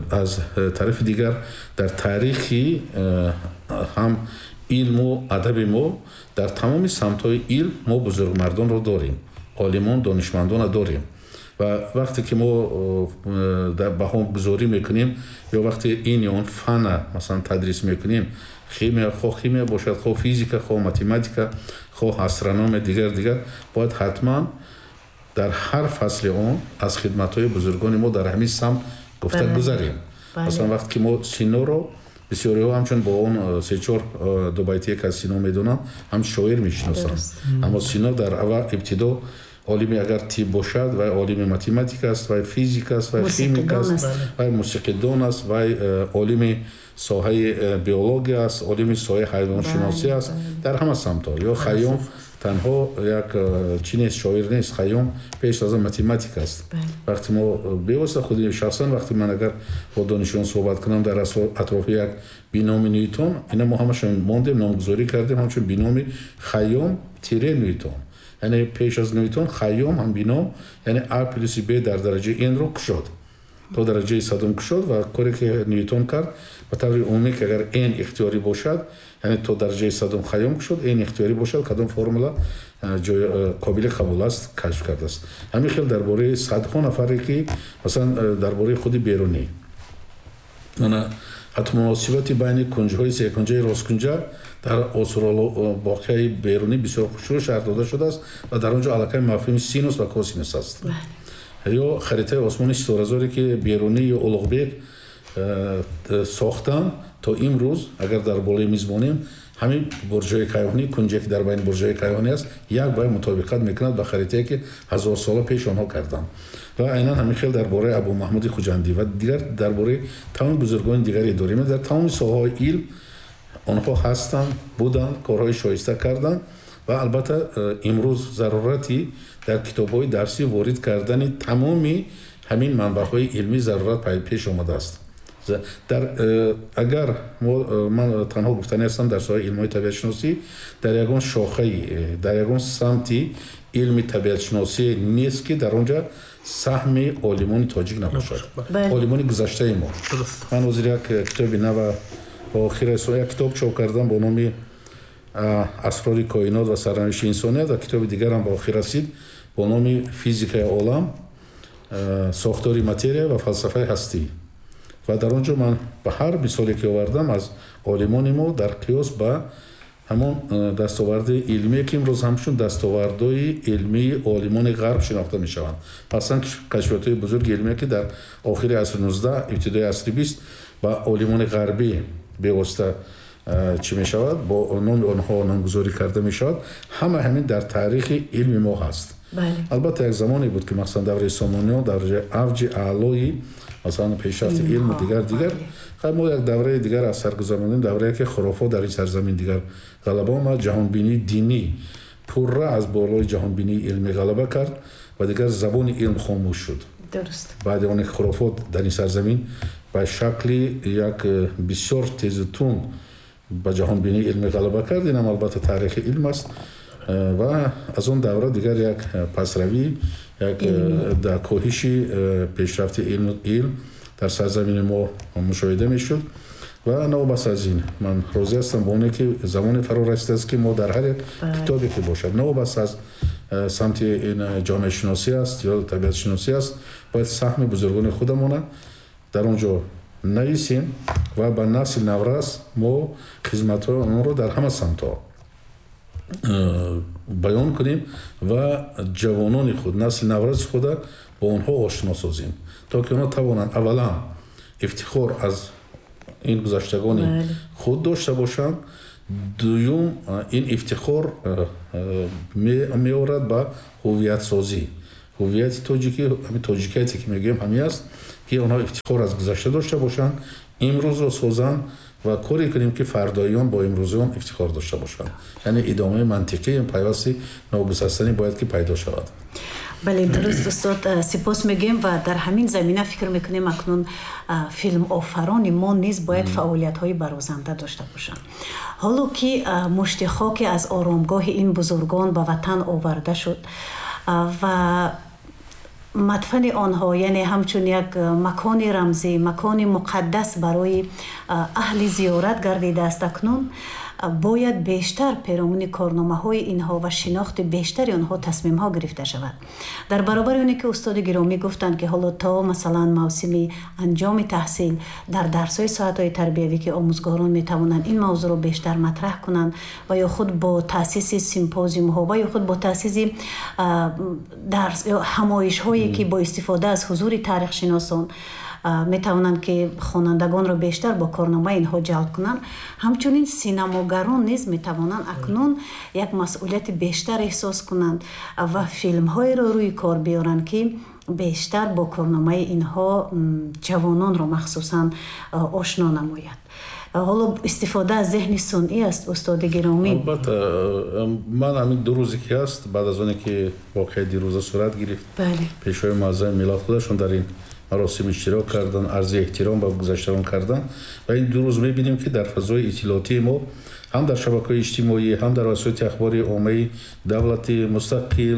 аз тарафи дигар дар таърихи ҳам илму адаби мо дар тамоми самтҳои илм мо бузургмардонро дорем, олимон, донишмандонро дорем. Ва вақте ки мо баҳогузорӣ мекунем ё вақте ин ё он фана масалан тадрис мекунем, химия, хоҳ химия бошад, хоҳ физика, хоҳ математика, хоҳ астрономия, дигар дигар, бояд ҳатман дар ҳар фасли он аз хидматҳои бузургони мо дар ҳамин самт гуфта гузарем. Масалан вақте ки мо Синоро бисёриҳо ҳамчун бо он се-чор дубайтие ки аз Сино медонанд, ҳам шоир мешиносанд. Аммо Сино дар аввал ибтидо олими агар тиб бошад, вай олими математика аст, вай физика аст, вай химик аст, вай мусиқидон аст, вай олими соҳаи биология аст, олими соҳаи ҳайвоншиносӣ аст, дар ҳама самтҳо. Ё Хайём танҳо як чӣ нест, шоир нест, Хайём пеш аз он математик аст. Вақте мо бевосита худи шахсан вақте ман агар бо донишҷӯён суҳбат кунам дар атрофи як биноми Ньютон, ина мо ҳамашон мондем, номгузорӣ кардем ҳамчун биноми Хайём тире Ньютон. Яъне пеш аз Ньютон Хайём ҳам бином, яъне А плюси Б дар дараҷаи N-ро кушод, то дараҷаи садум кушод. Ва коре ки Ньютон кард ба таври умумӣ, ки агар N ихтиёрӣ бошад, яъне то дараҷаи садум Хайём кушод, N ихтиёрӣ бошад, кадом формула қобили қабул аст, кашф кардааст. Ҳамин хел дар бораи садҳо нафаре ки масалан дар бораи худи Берунӣ, ана ҳатто муносибати байни кунҷҳои секунҷаи росткунҷа дар осорбоқияи Берунӣ бисёр хушрӯ шарҳ дода шудааст ва дар он ҷо аллакай мафҳуми синус ва косинус аст. Ё харитаи осмони ситоразоре ки Берунӣ ё Улуғбек сохтанд, то имрӯз агар дар болои миз монем, ҳамин бурҷҳои кайҳонӣ, кунҷе ки дар байни бурҷҳои кайҳонӣ аст, як ба як мутобиқат мекунад ба харитае ки 1000 сола пеш онҳо карданд. Ва айнан ҳамин хел дар бораи Абу Маҳмуди Хуҷандӣ ва дигар дар бораи тамоми бузургони дигаре дорем. Дар тамоми соҳаҳои илм онҳо ҳастанд, буданд, корҳои шоиста карданд. Ва албатта имрӯз зарурати дар китобҳои дарсӣ ворид кардани тамоми ҳамин манбаъҳои илмӣ зарурат пеш омадааст. Дар агар ман танҳо гуфтанӣ ҳастам, дар соҳаи илмҳои табиатшиносӣ дар ягон шохаи, дар ягон самти илми табиатшиносӣ нест, ки дар он ҷо саҳми олимони тоҷик набошад, олимони гузаштаи мо. Ман ҳозир як китоби нава ба охир як китоб чоп кардам бо номи Асрори коинот ва сарнавишти инсоният, ва китоби дигарам ба охир расид бо номи Физикаи олам, сохтори материя ва фалсафаи ҳастӣ. Ва дар он ҷо ман ба ҳар мисоле ки овардам аз олимони мо дар қиёс ба ҳамон дастоварди илмие ки имрӯз ҳамчун дастовардҳои илмии олимони ғарб шинохта мешаванд, масалан кашфиётҳои бузурги илмие ки дар охири асри 19, ибтидои асри 20 ба олимони ғарбӣ бевосита чӣ мешавад, бо номи онҳо номгузорӣ карда мешавад, ҳама ҳамин дар таърихи илми мо ҳаст. Албатта як замоне буд ки масалан давраи Сомониён дар авҷи аълои масалан пешрафти илму дигар дигар, мо як давраи дигар аз сар гузаронидем, даврае ки хурофот дар ин сарзамин дигар ғалаба омад, ҷаҳонбинии динӣ пурра аз болои ҷаҳонбинии илмӣ ғалаба кард ва дигар забони илм хомӯш шуд. Баъди оне ки хурофот дар ин сарзамин ба шакли як бисёр тезу тунд ба ҷаҳонбинии илмӣ ғалаба кард, инам албатта таърихи илм аст. Ва аз он давра дигар як пасравӣ, як дар коҳиши пешрафти илм дар сарзамини мо мушоҳида мешуд. Ва новобаста аз ин ман розӣ ҳастам ба оне ки замоне фаро расидааст, ки мо дар ҳар як китобе ки бошад, новобаста аз самти ин ҷомеашиносӣ аст ё табиатшиносӣ аст, бояд саҳми бузургони худамона дар он ҷо нависем ва ба насли наврас мо хизматҳои онро дар ҳама самтҳо, Баён кунем ва ҷавонони худ, насли навраси худа бо онҳо ошно созем, то ки онҳо тавонанд аввалан ифтихор аз ин гузаштагони худ дошта бошанд. Дуюм, ин ифтихор меорад ба ҳувиятсозӣ. Ҳувияти тоҷикӣ, ҳамин тоҷикияте ки мегӯем, ҳамин аст, ки онҳо ифтихор аз гузашта дошта бошанд, имрӯзро созанд ва коре кунем, ки фардоиён бо имрӯзиён ифтихор дошта бошанд. Яъне идомаи мантиқии пайвасти ногусастанӣ бояд ки пайдо шавад. Бале, дуруст, устод, сипос мегӯем ва дар ҳамин замина фикр мекунем, акнун филмофарони мо низ бояд фаъолиятҳои барозанда дошта бошанд. Ҳоло ки мушти хоке аз оромгоҳи ин бузургон ба ватан оварда шуд ва мадфани онҳо, яъне ҳамчун як макони рамзӣ, макони муқаддас барои аҳли зиёрат гардидааст, акнун бояд бештар перомуни корномаҳои инҳо ва шинохти бештари онҳо тасмимҳо гирифта шавад. Дар баробари оне ки устоди гиромӣ гуфтанд, ки ҳоло то, масалан, мавсими анҷоми таҳсил дар дарсҳои соатҳои тарбиявӣ, ки омӯзгорон метавонанд ин мавзӯъро бештар матраҳ кунанд ва ё худ бо таъсиси симпозиумҳо ва ё худ бо таъсиси дарс ҳамоишҳое, ки бо истифода аз ҳузури таърихшиносон метавонанд, ки хонандагонро бештар бо корномаи инҳо ҷалб кунанд. Ҳамчунин синамогарон низ метавонанд акнун як масъулияти бештар эҳсос кунанд ва филмҳоеро рӯи кор биёранд, ки бештар бо корномаи инҳо ҷавононро махсусан ошно намояд. Ҳоло истифода аз зеҳни сунъӣ аст, устоди гиромӣ. Албатта, ман ҳамин 2 рӯзе ки ҳаст, баъд аз оне ки воқеаи дирӯза сурат гирифт, Пешвои муаззами миллат худашон дар ин маросим иштирок кардан, арзи эҳтиром ба гузаштагон кардан ва ин 2 рӯз мебинем, ки дар фазои иттилоотии мо, ҳам дар шабакаҳои иҷтимоӣ, ҳам дар васоити ахбори оммаи давлати мустақил,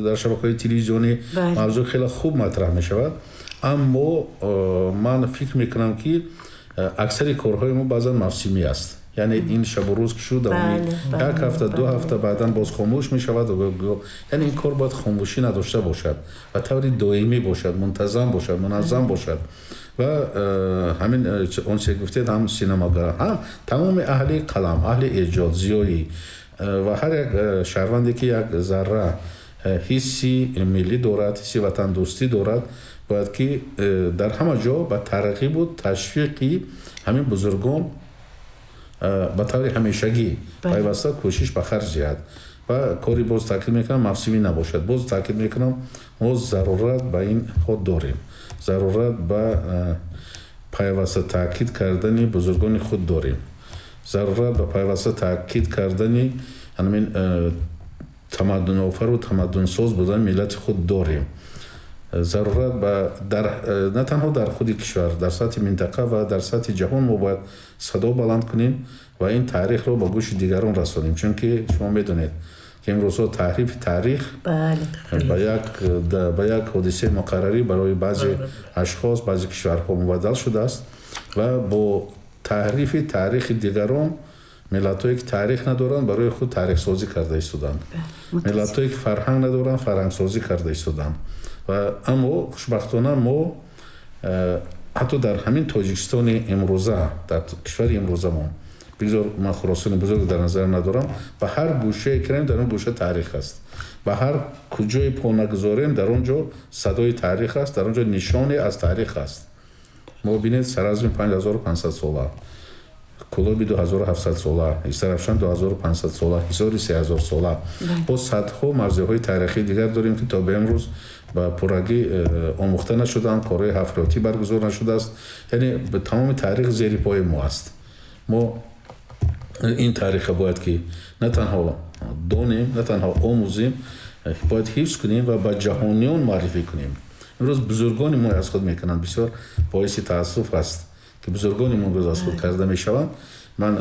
дар шабакаҳои телевизионӣ мавзӯъ хеле хуб матраҳ мешавад. Аммо ман фикр мекунам, ки аксари корҳои мо баъзан мавсимӣ аст. Яъне ин шабу рӯз ки шуд, як ҳафта, 2 ҳафта баъдан боз хомӯш мешавад. Яъне ин кор бояд хомӯшӣ надошта бошад ва таври доимӣ бошад, мунтазам бошад, муназзам бошад. Ва ҳамин он чизе гуфтед, ҳам синамогар, ҳам тамоми аҳли қалам, аҳли эҷод, зиёӣ ва ҳар як шаҳрванде, ки як зарра ҳисси миллӣ дорад, ҳисси ватандӯстӣ дорад, бояд ки дар ҳама ҷо ба тарғибу ташвиқи ҳамин бузургон ба таври ҳамешагӣ пайваста кӯшиш ба харҷ диҳад. Ва кори, боз таъкид мекунам, мавсимӣ набошад. Боз таъкид мекунам, мо зарурат ба ин худ дорем, зарурат ба пайваста таъкид кардани бузургони худ дорем, зарурат ба пайваста таъкид кардани ҳамин тамаддунофару тамаддунсоз будани миллати худ дорем, зарурат ба дар на танҳо дар худи кишвар, дар сатҳи минтақа ва дар сатҳи ҷаҳон мо бояд садо баланд кунем ва ин таърихро ба гӯши дигарон расонем, чунки шумо медонед, ки имрӯзҳо таҳрифи таърих ба як ҳодисаи муқаррарӣ барои баъзе ашхос, баъзе кишварҳо мубаддал шудааст ва бо таҳрифи таърихи дигарон миллатҳое, ки таърих надоранд, барои худ таърихсозӣ карда истоданд, миллатҳое, ки фарҳанг надоранд, фарҳангсозӣ карда истоданд. Ва аммо хушбахтона мо ҳатто дар ҳамин Тоҷикистони имрӯза, дар кишвари имрӯзамон, бигзор ман Хуросони бузург дар назар надорам, ба ҳар гӯшае кирем, дар он гӯша таърих аст, ба ҳар куҷое по нагузорем, дар он ҷо садои таърих аст, дар он ҷо нишоне аз таърих аст. Мо бинед, Саразми 5500 сола, Кӯлоби 2700 сола, Истарафшан 2500 сола, Ҳисори 3000 сола, боз садҳо мавзеъҳои таърихии дигар дорем, ки то ба имрӯз ба пуррагӣ омӯхта нашуданд, корҳои ҳафриётӣ баргузор нашудааст. Яъне тамоми таърих зери пои мо аст. Мо ин таъриха бояд ки на танҳо донем, на танҳо омӯзем, бояд ҳифз кунем ва ба ҷаҳониён муаррифӣ кунем. Имрӯз бузургони мо аз худ мекунанд. Бисёр боиси таассуф аст, ки бузургони мо имрӯз аз худ карда мешаванд. Ман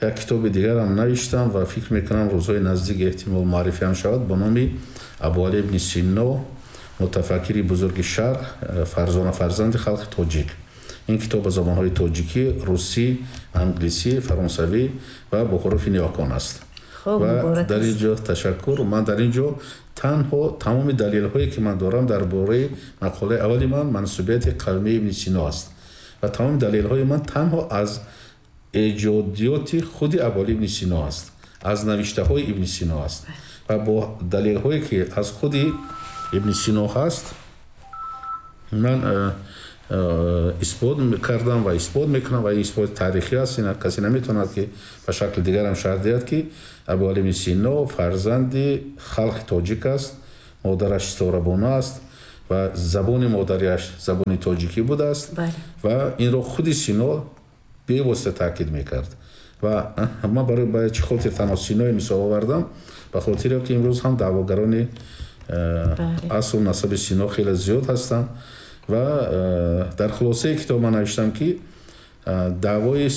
як китоби дигарам навиштам ва фикр мекунам, рӯзҳои наздик эҳтимол муаррифиам шавад, бо номи «Абуалӣ ибни Сино: мутафаккири бузурги Шарқ, фарзона фарзанди халқи тоҷик». Ин китоб ба забонҳои тоҷикӣ, русӣ, англисӣ, фаронсавӣ ва бо ҳуруфи ниёкон аст. Ва дар ин ҷо, ташаккур, ман дар ин ҷо танҳо тамоми далелҳое, ки ман дорам дар бораи мақолаи аввали ман, мансубияти қавмии ибни Сино аст, ва тамоми далелҳои ман танҳо аз эҷодиёти худи Абуалӣ ибни Сино аст. Аз навиштаҳои Ибни Сино аст ва бо далелҳое ки аз худи Ибни Сино ҳаст, ман исбот кардам ва исбот мекунам ва ин исботи таърихӣ аст. Ин касе наметавонад ки ба шакли дигарам шарҳ диҳад, ки Абуалӣ ибни Сино фарзанди халқи тоҷик аст, модараш Ситорабону аст ва забони модариаш забони тоҷикӣ будааст ва инро худи Сино бевосита таъкид мекард. Ва ман барои ба чӣ хотир танҳо Синои мисол овардам? Ба хотире ки имрӯз ҳам даъвогарони асл насаби Сино хеле зиёд ҳастанд. Ва дар хулосаи китоб ман навиштам, ки даъвои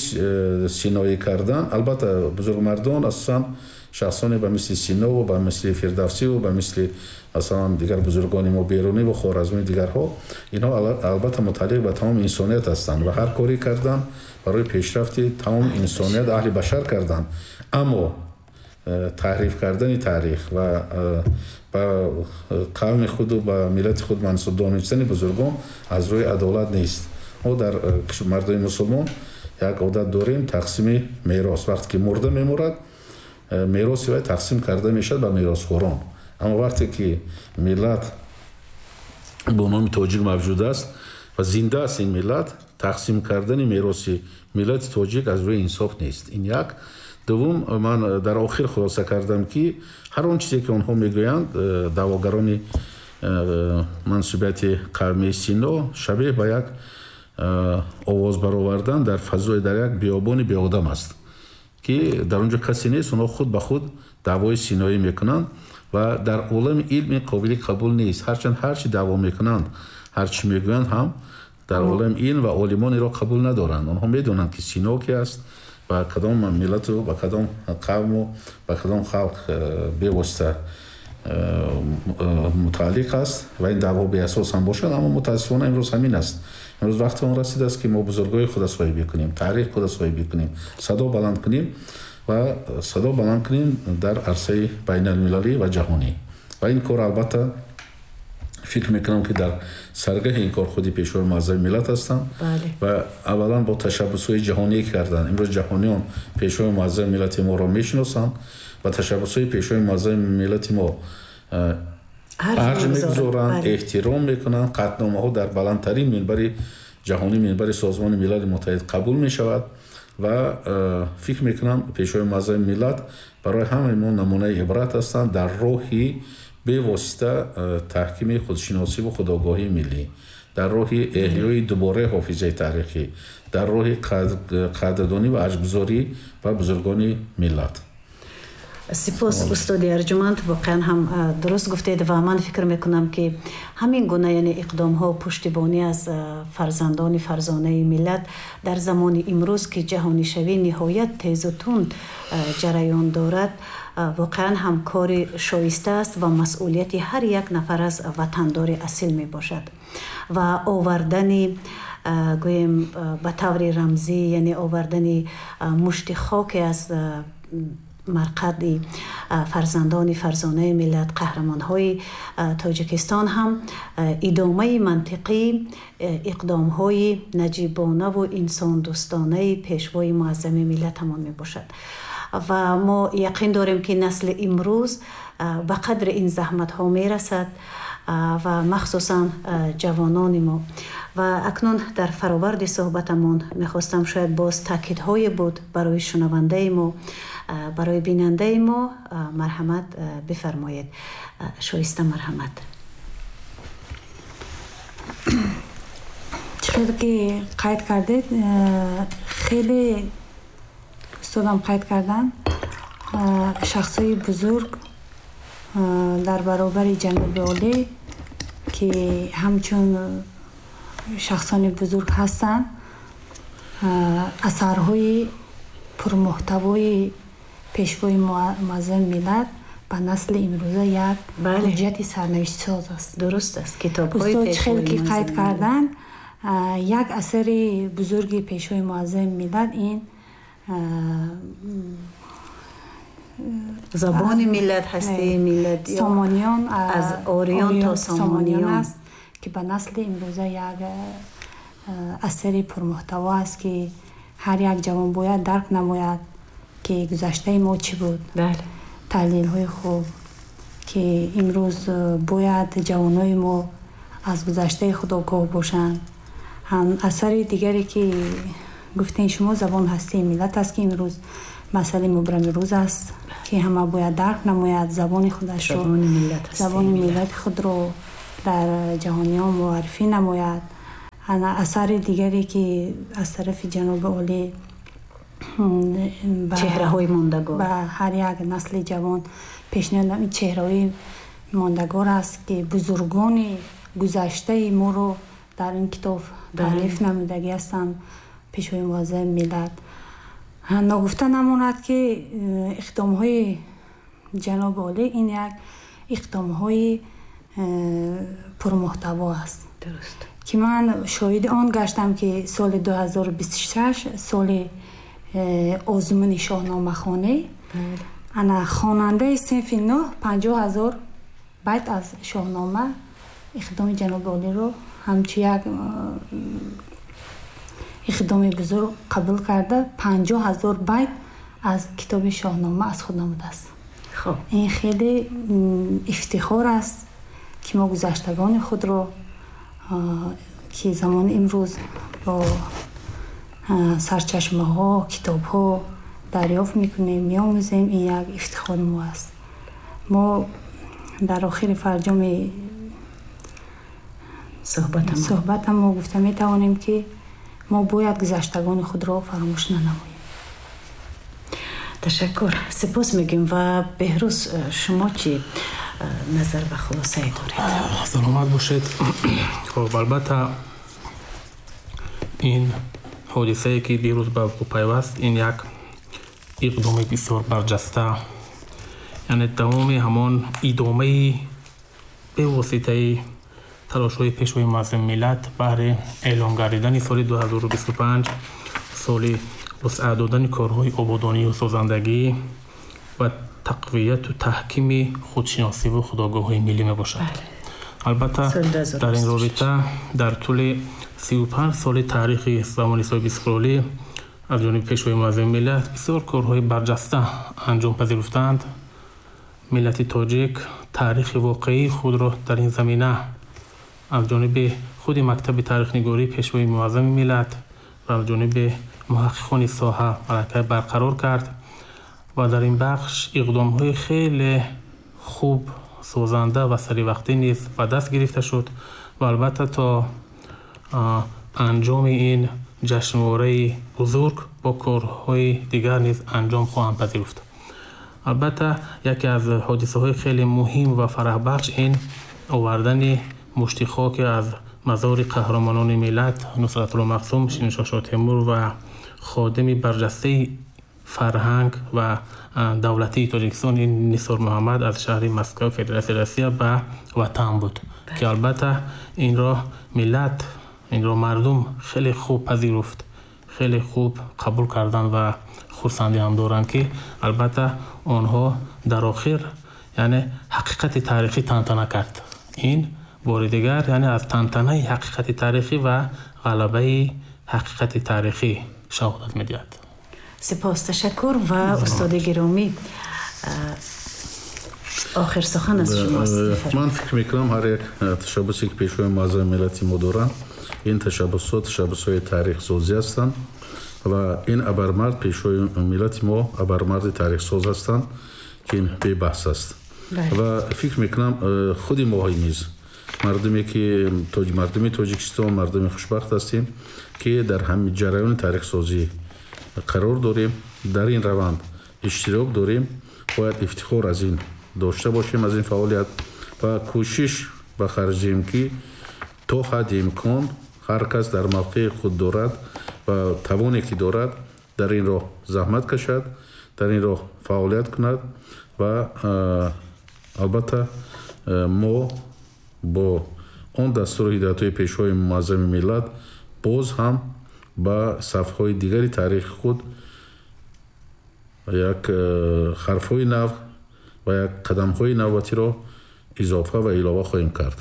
синоӣ кардан, албатта, бузургмардон, асосан шахсоне ба мисли Синову ба мисли Фирдавсиву ба мисли, масалан, дигар бузургони мо, Берунӣ ва Хоразмӣ, дигарҳо, инҳо албатта мутааллиқ ба тамоми инсоният ҳастанд ва ҳар коре кардан барои пешрафти тамоми инсоният, аҳли башар карданд. Аммо таҳриф кардани таърих ва ба қавми худу ба миллати худ мансуб донистани бузургон аз рӯи адолат нест. Мо дар мардуми мусулмон як одат дорем: тақсими мерос. Вақте ки мурда мемурад, мероси вай тақсим карда мешавад ба меросхӯрон. Аммо вақте ки миллат бо номи тоҷик мавҷуд аст ва зинда аст ин миллат, тақсим кардани мероси миллати тоҷик аз рӯи инсоф нест. Ин як. Дуввум, ман дар охир хулоса кардам, ки ҳар он чизе ки онҳо мегӯянд, даъвогарони мансубияти қавмии Сино, шабеҳ ба як овоз баровардан дар фазои, дар як биёбони беодам аст, ки дар он ҷо касе нест. Онҳо худ ба худ даъвои синоӣ мекунанд ва дар олами илм ин қобили қабул нест. Ҳарчанд ҳар чӣ даъво мекунанд, ҳар чӣ мегӯянд ҳам, дар олами илм ва олимон инро қабул надоранд. Онҳо медонанд, ки Сино ки аст, ба кадом миллату ба кадом қавму ба кадом халқ бевосита мутааллиқ аст ва ин даъво беасос ҳам бошад, аммо мутаассифона имрӯз ҳамин аст. Имрӯз вақти он расидааст, ки мо бузургои худа соҳибӣ кунем, таърих худа соҳибӣ кунем, садо баланд кунем ва садо баланд кунем дар арсаи байналмилалӣ ва ҷаҳонӣ. Ва ин кор, албатта, фикр мекунам, ки дар саргаҳи ин кор худи Пешвои муаззами миллат ҳастанд ва аввалан бо ташаббусҳои ҷаҳонӣ карданд. Имрӯз ҷаҳониён Пешвои муаззами миллати моро мешиносанд ва ташаббусҳои Пешвои муаззами миллати мо арҷ мегузоранд, эҳтиром мекунанд. Қатъномаҳо дар баландтарин минбари ҷаҳонӣ, минбари Созмони Милали Муттаҳид қабул мешавад ва фикр мекунам, Пешвои муаззами миллат барои ҳамаи мо намунаи ибрат ҳастанд дар роҳи бевосита таҳкими худшиносиву худогоҳии миллӣ, дар роҳи эҳёи дубораи ҳофизаи таърихӣ, дар роҳи қадрдонӣ ва арҷгузорӣ ба бузургони миллат. Сипос, устоди арҷуманд. Воқеан ҳам дуруст гуфтед ва ман фикр мекунам, ки ҳамин гуна, яъне иқдомҳо, пуштибонӣ аз фарзандони фарзонаи миллат дар замони имрӯз, ки ҷаҳонишавӣ ниҳоят тезу тунд ҷараён дорад, воқеан ҳам кори шоиста аст ва масъулияти ҳар як нафар аз ватандори асил мебошад. Ва овардани, гӯем, ба таври рамзӣ, яъне овардани мушти хоке аз марқади фарзандони фарзонаи миллат, қаҳрамонҳои Тоҷикистон ҳам идомаи мантиқии иқдомҳои наҷибонаву инсондӯстонаи Пешвои муаззами миллатамон мебошад. Ва мо яқин дорем, ки насли имрӯз ба қадри ин заҳматҳо мерасад ва махсусан ҷавонони мо. Ва акнун дар фароварди суҳбатамон мехостам, шояд боз таъкидҳое буд барои шунавандаи мо, барои бинандаи мо, марҳамат бифармоед. Шоиста, марҳамат. Чӣ хеле ки қайд кардед, хеле устодам қайд карданд, шахсҳои бузург дар баробари ҷаноби олӣ, ки ҳамчун шахсони бузург ҳастанд, асарҳои пурмуҳтавои Пешвои муаззами миллат ба насли имрӯза як ҳуҷҷати сарнавиштсоз аст. Дуруст аст, китобҳои Устод чӣ хеле ки қайд карданд, як асари бузурги Пешвои муаззами миллат ин Забони миллат, ҳастаи миллат, Сомониён, аз ориён то Сомониён аст, ки ба насли имрӯза як асари пурмуҳтаво аст, ки ҳар як ҷавон бояд дарк намояд. ки гузаштаи мо чӣ буд, таҳлилҳои хуб, ки имрӯз бояд ҷавонои мо аз гузаштаи худ огоҳ бошанд. Асари дигаре ки гуфтем шумо, забон ҳастии миллат аст, ки имрӯз масъалаи мубрами рӯз аст, ки ҳама бояд дарк намояд забони худашро, забони миллати худро дар ҷаҳониён муаррифӣ намояд. Асари дигаре ки аз тарафи ҷаноби олӣ чеҳраҳои мондагор ба ҳар як насли ҷавон пешниҳод, ин чеҳраҳои мондагор аст, ки бузургони гузаштаи моро дар ин китоб таълиф намудагӣ ҳастанд, пешвои муаззами миллат. Ногуфта намонад, ки иқдомҳои ҷаноби олӣ ин як иқдомҳои пурмуҳтаво аст, ки ман шоҳиди он гаштам, ки соли 2026 соли озмуни шоҳномахонӣ ана хонандаи синфи 9 50 000 байт аз шоҳнома иқдоми ҷаноби олиро ҳамчун як иқдоми бузург қабул карда, 50 000 байт аз китоби шоҳнома аз худ намудааст. Ин хеле ифтихор аст, ки мо гузаштагони худро, ки замони имрӯз бо сарчашмаҳо, китобҳо дарёфт мекунем, меомӯзем, ин як ифтихори мо аст. Мо дар охири фарҷоми суҳбатам мо гуфта метавонем, ки мо бояд гузаштагони худро фаромӯш нанамоем. Ташаккур, сипос мегӯем. Ва Беҳрӯз, шумо чӣ назар ва хулосае доред? Саломат бошед. Хоб, албатта, ин ҳодисае, ки дирӯз ба вуқӯъ пайваст, ин як иқдоми бисёр барҷаста, яъне тамоми ҳамон идомаи бевоситаи талошҳои пешвои муаззами миллат баҳри эълон гардидани соли 2025 соли вусъат додани корҳои ободонию созандагӣ ва тақвияту таҳкими худшиносиву худогоҳии миллӣ мебошад. Албатта, дар ин робита дар тӯли 35 соли таърихи замони соҳибистиқлолӣ аз ҷониби пешвои муаззами миллат бисёр корҳои барҷаста анҷом пазируфтаанд. Миллати тоҷик таърихи воқеии худро дар ин замина аз ҷониби худи мактаби таърихнигории пешвои муаззами миллат ва аз ҷониби муҳаққиқони соҳа аллакай барқарор кард ва дар ин бахш иқдомҳои хеле хуб, созанда ва саривақтӣ низ ба даст гирифта шуд. Ва албатта, то анҷоми ин ҷашнвораи бузург бо корҳои дигар низ анҷом хоҳанд пазируфт. Албатта, яке аз ҳодисаҳои хеле муҳим ва фараҳбахш ин овардани мушти хоке аз мазори қаҳрамонони миллат Нусратулло Махсум, Шириншоҳ Шоҳтемур ва ходими барҷастаи фарҳанг ва давлатии Тоҷикистон ин Нисор Муҳаммад аз шаҳри Москва, Федератсияи Россия ба ватан буд, ки албатта инро миллат, инро мардум хеле хуб пазируфт, хеле хуб қабул карданд ва хурсандӣ ҳам доранд, ки албатта онҳо дар охир, яъне ҳақиқати таърихӣ тантана кард. Ин бори дигар, яъне аз тантанаи ҳақиқати таърихӣ ва ғалабаи ҳақиқати таърихӣ шаҳодат медиҳад. Сипос, ташаккур. Ва устоди гиромӣ, охир сухан аз шумост. Ман фикр мекунам, ҳар як ташаббусе, ки пешвои муаззами миллати мо доранд, ин ташаббусҳо ташаббусҳои таърихсозӣ ҳастанд ва ин абармард, пешвои миллати мо, абармарди таърихсоз ҳастанд, ки ин бебаҳс аст. Ва фикр мекунам, худи моҳо низ, мардуме ки мардуми Тоҷикистон, мардуми хушбахт ҳастем, ки дар ҳамин ҷараёни таърихсозӣ қарор дорем, дар ин раванд иштирок дорем, бояд ифтихор аз ин дошта бошем, аз ин фаъолият, ва кӯшиш ба харҷ диҳем, ки то ҳадди имкон ҳар кас дар мавқеи худ дорад ва тавоне ки дорад, дар ин роҳ заҳмат кашад, дар ин роҳ фаъолият кунад. Ва албатта, мо бо он дастуру ҳидоятҳои пешвои муаззами миллат боз ҳам ба сафҳои дигари таърихи худ як ҳарфҳои нав ва як қадамҳои навбатиро изофа ва илова хоҳем кард.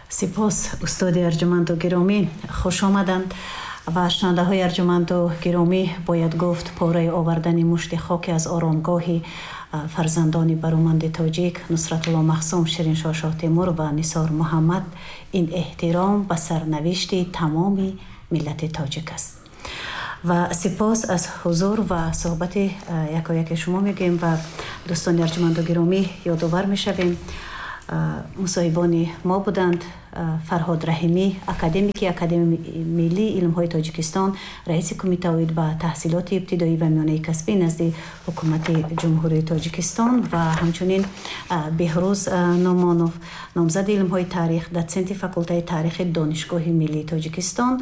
Сипос, устоди арҷуманду гиромӣ, хуш омаданд. Ва шунавандаҳои арҷуманду гиромӣ, бояд гуфт, пораи овардани мушти хоки аз оромгоҳи фарзандони бароманди тоҷик Нусратулло Махсум, Шириншоҳ Шоҳтемур ва Нисор Муҳаммад ин эҳтиром ба сарнавишти тамоми миллати тоҷик аст. Ва сипос аз ҳузур ва суҳбати якояки шумо мегӯем. Ва дӯстони арҷуманду гиромӣ, ёдовар мешавем, мусоҳибони мо буданд Фарҳод Раҳимӣ, академики Академияи миллии илмҳои Тоҷикистон, раиси кумита оид ба таҳсилоти ибтидоӣ ва миёнаи касбӣ назди Ҳукумати Ҷумҳурии Тоҷикистон, ва ҳамчунин Беҳрӯз Номонов, номзади илмҳои таърих, дотсенти факултаи таърихи Донишгоҳи миллии Тоҷикистон,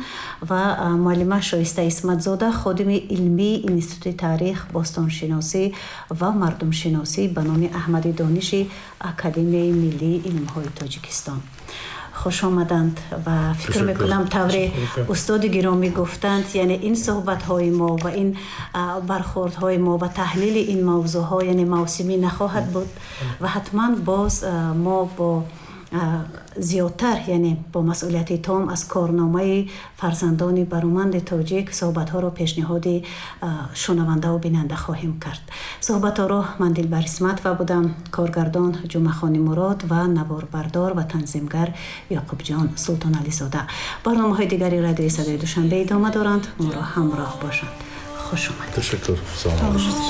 ва муаллима Шоиста Исматзода, ходими илмии Институти таърих, бостоншиносӣ ва мардумшиносӣ ба номи Аҳмади Дониши Академияи миллии илмҳои Тоҷикистон. Хуш омаданд. Ва фикр мекунам, тавре устоди гиромӣ гуфтанд, яъне ин суҳбатҳои мо ва ин бархӯрдҳои мо ва таҳлили ин мавзӯъҳо, яъне мавсимӣ нахоҳад буд ва ҳатман боз мо бо зиёдтар, яъне бо масъулияти том аз корномаи фарзандони бароманди тоҷик суҳбатҳоро пешниҳоди шунавандаву бинанда хоҳем кард. Суҳбатҳоро ман, Дилбар Исматова, будам, коргардон Ҷумъахони Мурод ва наворбардор ва танзимгар Ёқубҷон Султонализода. Барномаҳои дигари Радиои Садои Душанбе идома доранд, моро ҳамроҳ бошанд. Хуш омадед. Ташаккур, саломат бошед.